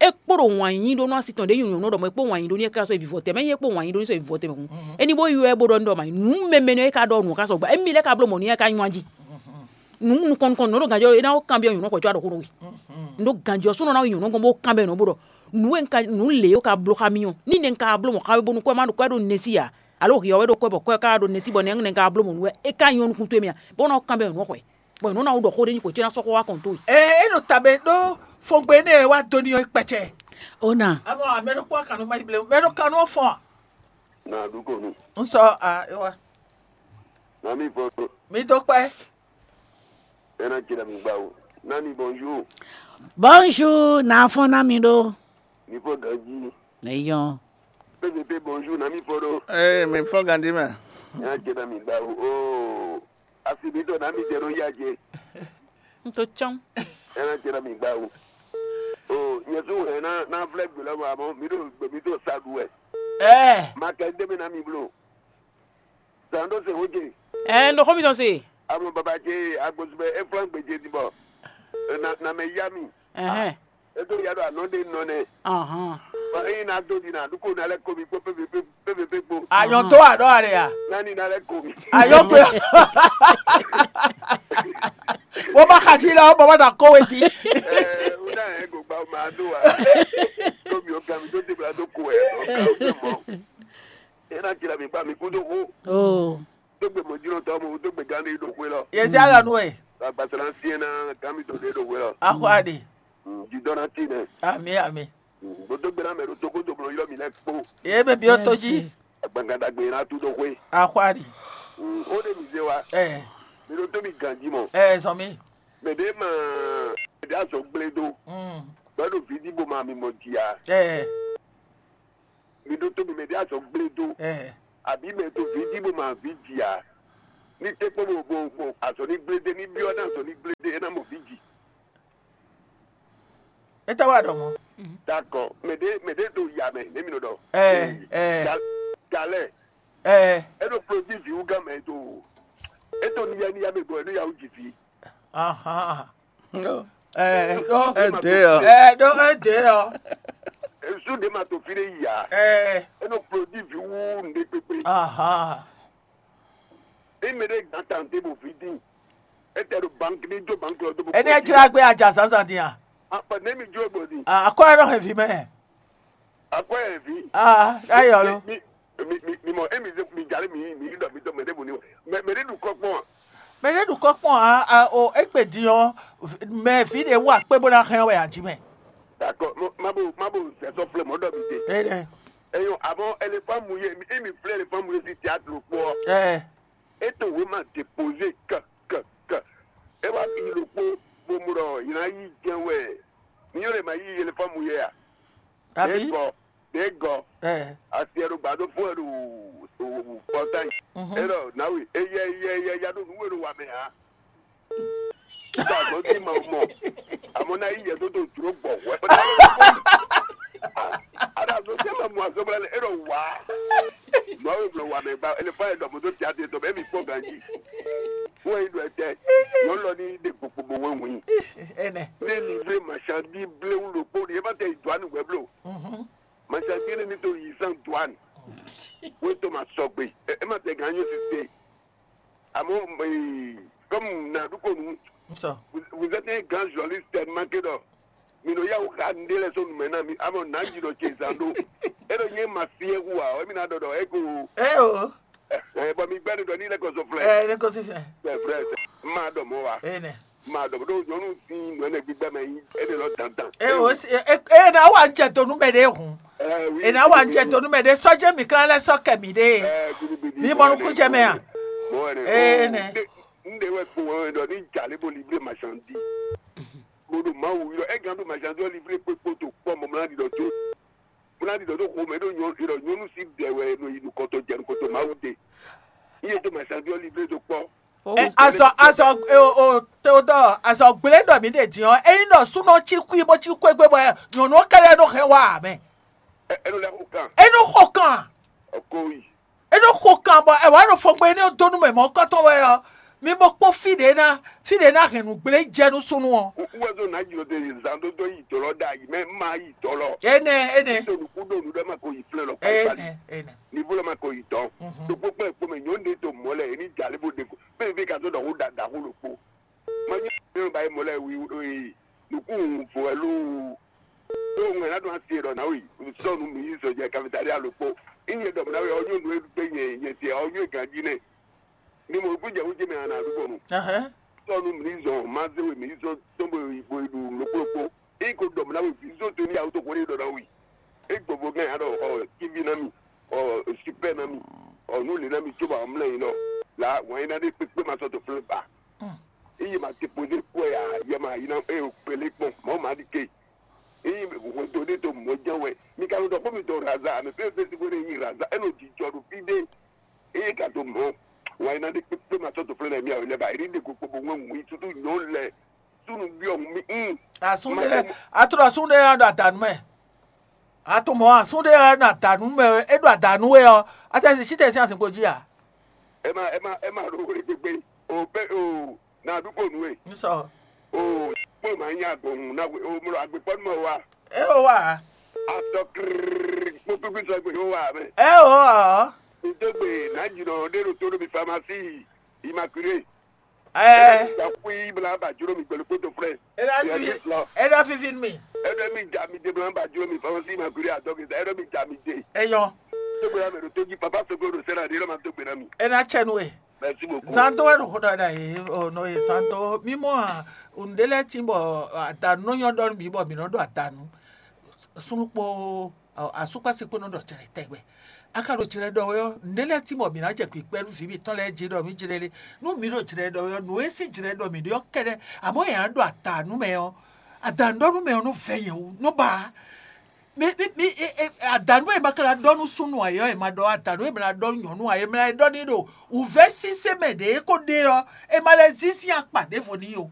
É kpo ɖo wǎn yí ɖó nú asi tɔn ɖě nyɔ̌nu ɖɔ mɔ̌ é kpo wǎn yí ɖó ní é ká sɔ́ yi vivɔ tɛmɛ, é kpo wǎn yí ɖó ní sɔ́ yi vivɔ tɛmɛ hǔn. É ní bó ywɛ bó ɖɔ ní ɖɔ ma nǔ mɛmɛ nɔ é ka ɖɔ nǔ ká sɔgbe, émi lɛ́ ka bló mɔ̌ ní é ka nywá jí. Nǔ nukɔn nukɔn nǔ ɖo ganjɔ é ná ko kanbyɔ́ nyɔ̌nu xwɛ̌ có aɖɔ xó nɔ we. Nǔ ɖo ganjɔ súnɔ ná yi nyɔ̌nu gɔ́n bó kanbyɔ́ nyɔ̌nu bó ɖɔ nǔ e un ka nǔ lě e un ka bló xá mì ɔ́, ní nɛ̌ un ka bló mɔ̌ xá we bónú kɔ́ má ɖo kɔ́ ɖo nɛsí ǎ, alo hǐ ɔ́ wɛ ɖo kɔ́ bɔ kɔ́ ka ɖo nɛsí bɔ nɛ̌ un ka bló mɔ̌ nú wɛ é ka nyɔ́ nukún towe mɛ a, bó ná kanbyɔ́ nyɔ̌nu xwɛ̌. Bɔ nyɔ̌nu ná wú ɖɔ xó ɖé nyi xwě có é ná sɔ́ xó wá kɔn towe. Ɛ é ɖo tabe ɖó fogbe énɛ́ e wá do n'i ɔ́ kpɛcɛ. Ona. Amɔ amɛ ɖokpó akanú ma yi ble mɛ ɖo kanú ɔ́ fɔn a. Na ɖu ko nu. N sɔ a é wá. Na mi fɔ. Mi dó kpɛ. Ena jira mi gba o. Nani bonjour. Bonjour, na fɔn na mi ɖo. Mi fɔ ganji. Eyɔn. P V P bonjour, na mi fɔ ɖo. Ee, mi fɔ ganji mɛ. Ena jira mi gba o. Oo. Asi mi tɔ na mi jɛ ɖo ya jɛ. N to tsɔn. Ena jira mi gba o. Oo, nyɛ su hɛn na na flɛ gbe lɔ mɔ amɔ mi ɖo gbe mi ɖo sa ɖu wɛ. Ɛɛ. Ma kɛ de mi na mi blo. Zan ɖo se wo je. Ɛɛ, n ɖo xó mi tɔn se. Amɔ baba ce agbosubɛ e flan gbe ce ti bɔ. Na na mɛ ya mi. Ɛhɛn. E to ya ɖo anɔ ɖe nɔ nɛ. Ahɔn. Bɔ eyi na do di na ɖu ko na lɛ ko mi kpo pépépé kpo. Ayɔn tó aɖɔ aɖe ya. Nani na lɛ ko mi. Ayɔn gbe. Wo ma xa ti la, wo bɔ ma da ko we ti. Ɛɛ, o na yɛ go gba o ma do wa. Ko mi o gami do te bla do ko ɛ. O ka o tɛ mɔ. E na jira mi gba mi kudo ko. Oh. Tó gbe mɔjínɔtɔ́ mɔ tó gbe gán ɖé ɖo xwé lɔ. Yɛ sí alɔ nú ɛ. Agbasara fiɛn na gán mi tɔn ɖé ɖo xwé lɔ. Axɔ aɖe. Jidɔ na ti nɛ. Ami ami. Bó tó gbe na mɛ ɖo tókó tó blɔ yɔ mi lɛ kpó. Ye bɛ bi o tó jí. Agbangada gbe na tu ɖo xwé. Axɔ aɖe. O ɖe mi zé wa. Ɛ. Mi ɖo tó mi ganji mɔ. Ɛ zɔn mi. Mɛ ɖe ma mɛ ɖe azɔ gblé do. Bɛ ɖo vidi bo ma mi mɔ jia. Ɛ. Mi ɖo tó mi mɛ ɖe azɔ gblé do. Ɛ. Àbí mɛ to vidi bo ma vi jia. Ní tɛ́ kpɔ́n bo bo bo azɔ ní gblé dé ní byɔ́ ní azɔ ní gblé dé é ná mɔ vi ji. Étɛ́ wá ɖɔ mɔ̌? D'accord, mɛ ɖé mɛ ɖé ɖo ya mɛ nɛ mi nɔ ɖɔ. Ɛ ɛ Galɛ. Ɛ. É ɖo produit vi wú gán mɛ to. É to níyá níyá mɛ gbɔ é ɖo ya wú jì fi. Ahan. Ɛ ɖo Ɛ dé ɔ. Ɛ ɖo é dé ɔ. Esu ɖe ma to fi ɖe yi ya. Ɛ. É ɖo produit vi wú nɖe kpekpe. Ahan. Eme ɖe gǎn tante bo vi dín. Etɛ ɖo banki ní jó banki ɔ́ dó bo. Ɛnɛ jla gbé adza zǎnzǎn din a? Akpa nɛ mi jó gbɔ din. Akɔ ɛ nɔ hɛn vi mɛ. Akɔ ɛ vi. Aa ayɔ lo. Mi mi mi mi mɔ emi zɛ mi jalè mi mi ɖɔ mi tɔ mɛ ɖe bo ni mɛ mɛ ɖe ɖu kɔ kpɔn a? Mɛ ɖe ɖu kɔ kpɔn a a o egbe din ɔ mɛ vi ɖe wú akpé bó ná hɛn wɛ aji mɛ. D'accord, mo ma bo ma bo sɛ sɔ flɛ mɔ ɖɔ mi te. Ɛ dɛ. Eyo, àmọ́ ẹlẹ́fà mú yé, èmi fúnlẹ̀ ẹlẹ́fà mú yé sí théâtre pọ̀. Ɛ Ètò ìwé máa dépose kàn kàn kàn. Ẹ wá fi ìlú pó gbogbo rọ̀ ìran yìí jẹ́ wẹ̀. Ní yóò lè máa yí ẹlẹ́fà mú yé à. Àbí? Dégọ̀ dégọ̀. Ẹ Àti ẹ̀rọ gbàdó fún ẹ̀rọ òwò pọ́tà yìí. Mhm. Ẹ̀rọ náwó eyẹ eyẹ eyẹ yadó nùwé ló wà mẹ́ à. Nígbà tó ti mọ̀ mọ̀, àmọ́ náà yíyẹ tó tó dúró gbọ̀ wẹ́. Ada tó ti mọ̀ mọ̀ àzọ́bọ̀lá ni ẹ̀rọ wá. Mọ̀ àwọn ìbùdó wà mí gba ẹlẹ́fà yẹn dọ̀bọ̀ tó ti àti ètò bẹ́ẹ̀ mi pọ̀ gan jí. Wọ́n yìí dọ̀ ẹ̀tẹ́, yóò lọ ní ìdè gbogbo wọ́n wọ̀nyí. Ẹ nẹ. Ní ní ilé màṣá bí bléwú ló pọ̀ ní ẹ bá tẹ ìdùá nìwẹ́ bló. Mhm. Màṣá bí ní nítorí yìí sàn dùá ni. Wọ́n tó máa sọ gbé. Ẹ má tẹ gan yóò ti tẹ. Àmọ́, eh, comme Naduko nous, vous, vous êtes un grand journaliste tellement que donc, mi nɔ yá wò xa nɖé lɛ sɔ́ numɛ ná mi, amɔ nǎ yi ɖɔ ce zan ɖó. É ɖɔ nyɛ ma fiɛ hu a, ɔ, émi ná ɖɔ ɖɔ é ko. Ɛ o. Ɛ, bɔ mi gbɛ́ ɖɔ ní lɛ́ kɔ sɔ flɛ. Ɛ, ne ko si fɛ. C'est vrai, c'est ma dɔ mɔ wa. Ene. Ma dɔ ɖo nyɔnu sin nɔ ne gbígbɛ mɛ yi, e de lɔ dandan. E o si e e na wa jɛ donu mɛ de hun. Ɛ, oui, e na wa jɛ donu mɛ de sɔjɛ mi kla lɛ sɔ kɛ mi de. Ɛ, gidi, gidi, Mi mɔ nukun jɛ mɛ a? Mɔ ne. Ene. N de wɛ kpo wɛ dɔ ni jale bo livre marchandise. Bo do Mawu yɔ, e gan do marchandise livre kpekpo to kpɔ mɔmla di dɔ to. Mɔmla di dɔ to xo mɛ do nyɔ, e dɔ nyɔnu si dɛ wɛ no yi nukɔtɔ jɛ nukɔtɔ Mawu de. Iye do marchandise livre do kpɔ. Azɔ azɔ o o Teodoro azɔ gblé ɖɔ mǐ ɖe din ɔ́, ényí ɖɔ súnɔ cí xwí bó cí xwé gbé bɔ nyɔ̌nu ɔ́ kɛɖɛ́ nɔ hɛn wá ǎ mɛ. Ɛ, enu lɛ xo kan. É nɔ xo kan, Ɔkɔwi. é nɔ xo kan bɔ ɛ wǎ ɖo fɔgbɛn énɛ́ dó nú mɛ mɔ̌kɔtɔn wɛ ɔ́, mi bo kpɔ́n fí ɖě ná fí ɖě ná hɛn nǔgblé jɛ nú súnnu ɔ́. Wúwɛzó ná jlɔ de zan dó dó yi dɔlɔ ɖ'ayǐ mɛ má yi dɔlɔ. Énɛ́ énɛ́ Tó nukú ɖo nǔ ɖɔ ma ko yi flɛ́ lɔ kpákpá. Énɛ́ énɛ́. Nivo lɔ ma ko yi dɔn. Mhm. Ɖokpó kpɛ́ kpó mɛ nyɔ̌nu ɖé to mɔ̌ lɛ é ní jalé bó ɖe ko. Bẹ́ẹ̀ bí ka tó ɖɔ xó ɖaɖa xó ɖokpó. Má nyí ní ba yi mɔ̌ lɛ wi ɖó yi nukún vo wɛ lóo. Tó ŋɛ ná ɖo asi ɖɔ ná wi sɔ́ nu mi yi zɔ jɛ kafitali alokpo. Iye ɖɔ na wi ɔyɔ nu egbe nyɛ nyɛ se ɔyɔ ganji nɛ. Ni mo kú jɛ wújɛ mɛ ana ɖu kɔnu. Sɔ́ nu mi zɔ ma zé we mi zɔ tɔn bo yi bo yi ɖu lokplokpo. Iko ɖɔ na wi vi zɔ to ni awo to ko ni ɖɔ na wi. E gbogbo gɛn ya ɖɔ ɔ kivi na mi, ɔ super na mi, ɔ nu le na mi tso ba mlɛ yi nɔ. La wɔn yi na ɖe kpekpe ma sɔ to flɛ ba. Iye ma te poze kpɔ ya yɛ ma yi na e o kpele kpɔn mɔ ma di ke. Eye hwɛndo ɖé to mɔ̌ jɛ́n wɛ. Mi ka nɔ ɖɔ xó mitɔn raza, mɛ fɛ́n fɛ́n sín xwé nyi raza, é nɔ jijɔ ɖo fí ɖé. Eye ka dó mɔ̌, wǎn é ná ɖe kpékpé ma sɔ́ to flɛ́ lɛ́ɛ mì awě lɛ́ɛ ba, é ɖi ɖe kpokpo bó ŋɔ́ wǐ sútú nyɔ̌nu lɛ́ɛ súnnu byɔ́ hun mì. Mm. Asún ɖé lɛ́ɛ, a tlɔ asún ɖé lɛ́ɛ ɖo adǎnu mɛ. A tunwun mɔ̌ asún ɖé lɛ́ɛ ɖo adǎnu mɛ, é ɖo adǎnu wɛ ɔ́, a tɛ si sí tɛ sín azinkpo jí a? Ɛ ma ɛ ma ɛ ma ɖo wle gbegbe. O pɛ o na ɖu ko nú we. N sɔ. O kpɔ́n ma nya gbɔn na we o mlɔ agbekpɔ́ nú mɛ wa. E o wa. Atɔ krrrr kpó kpíkpí sɔ gbe yóò wa mɛ. E o ɔ. Ntó gbe na jìnnà ɖé ɖo tó ɖo mi famasi Immaculée. Ɛ. Ìgbà kú yí bla ba júró mi pẹ̀lú kótó frɛ. E na fi e na fi fi mi. Ẹ dọ́ mi jà mi dé bla ba júró mi famasi Immaculée àtọ́ kìí sá ẹ dọ́ mi jà mi dé. Eyɔ. Tó gbe la mɛ ɖo tó jí papa sɔgbó ɖo sẹ́nà ɖé lọ́mà tó gbe na mi. E na tsɛ nu e. Merci beaucoup. Zan dó wɛ ɖo xó ɖɔ ɖa yě ɔ nɔ yě zan dó mímɔ a ŋɖé lɛ́ɛ tín bɔ adanu nɔ nyɔ ɖɔ nú mǐ bɔ mǐ nɔ ɖo adanu súnnu kpó asúkpásí kpó nɔ ɖɔ jlɛ tɛgbɛ. A ka ɖo jlɛ ɖɔ wɛ ɔ́, ŋɖé lɛ́ɛ tín bɔ mǐ ná jɛ kpǐkpɛ́ nú vǐ mǐtɔn lɛ́ɛ jí ɖɔ mí jlé lé. Nú mǐ ɖo jlɛ ɖɔ wɛ ɔ́, nǔ e sín jlɛ ɖɔ mǐ ɖe ɔ́ kɛ́ɖɛ́, àmọ́ è nǎ ɖo adanu mɛ ɔ́, adanu ɖɔ nú mɛ ɔ́ nɔ vɛ́ nyɛ wú, nɔ ba. Mi mi mi e- e- adanu e ma ka na ɖɔ nú súnnu ayɔ e ma ɖɔ adanu e ma na ɖɔ nú nyɔnu ayɔ ma ɖɔ ní ɖo wǔvɛ́ sísé mɛ ɖě ko ɖe ɔ́, e ma lɛ zí sín akpa ɖěvo ní o.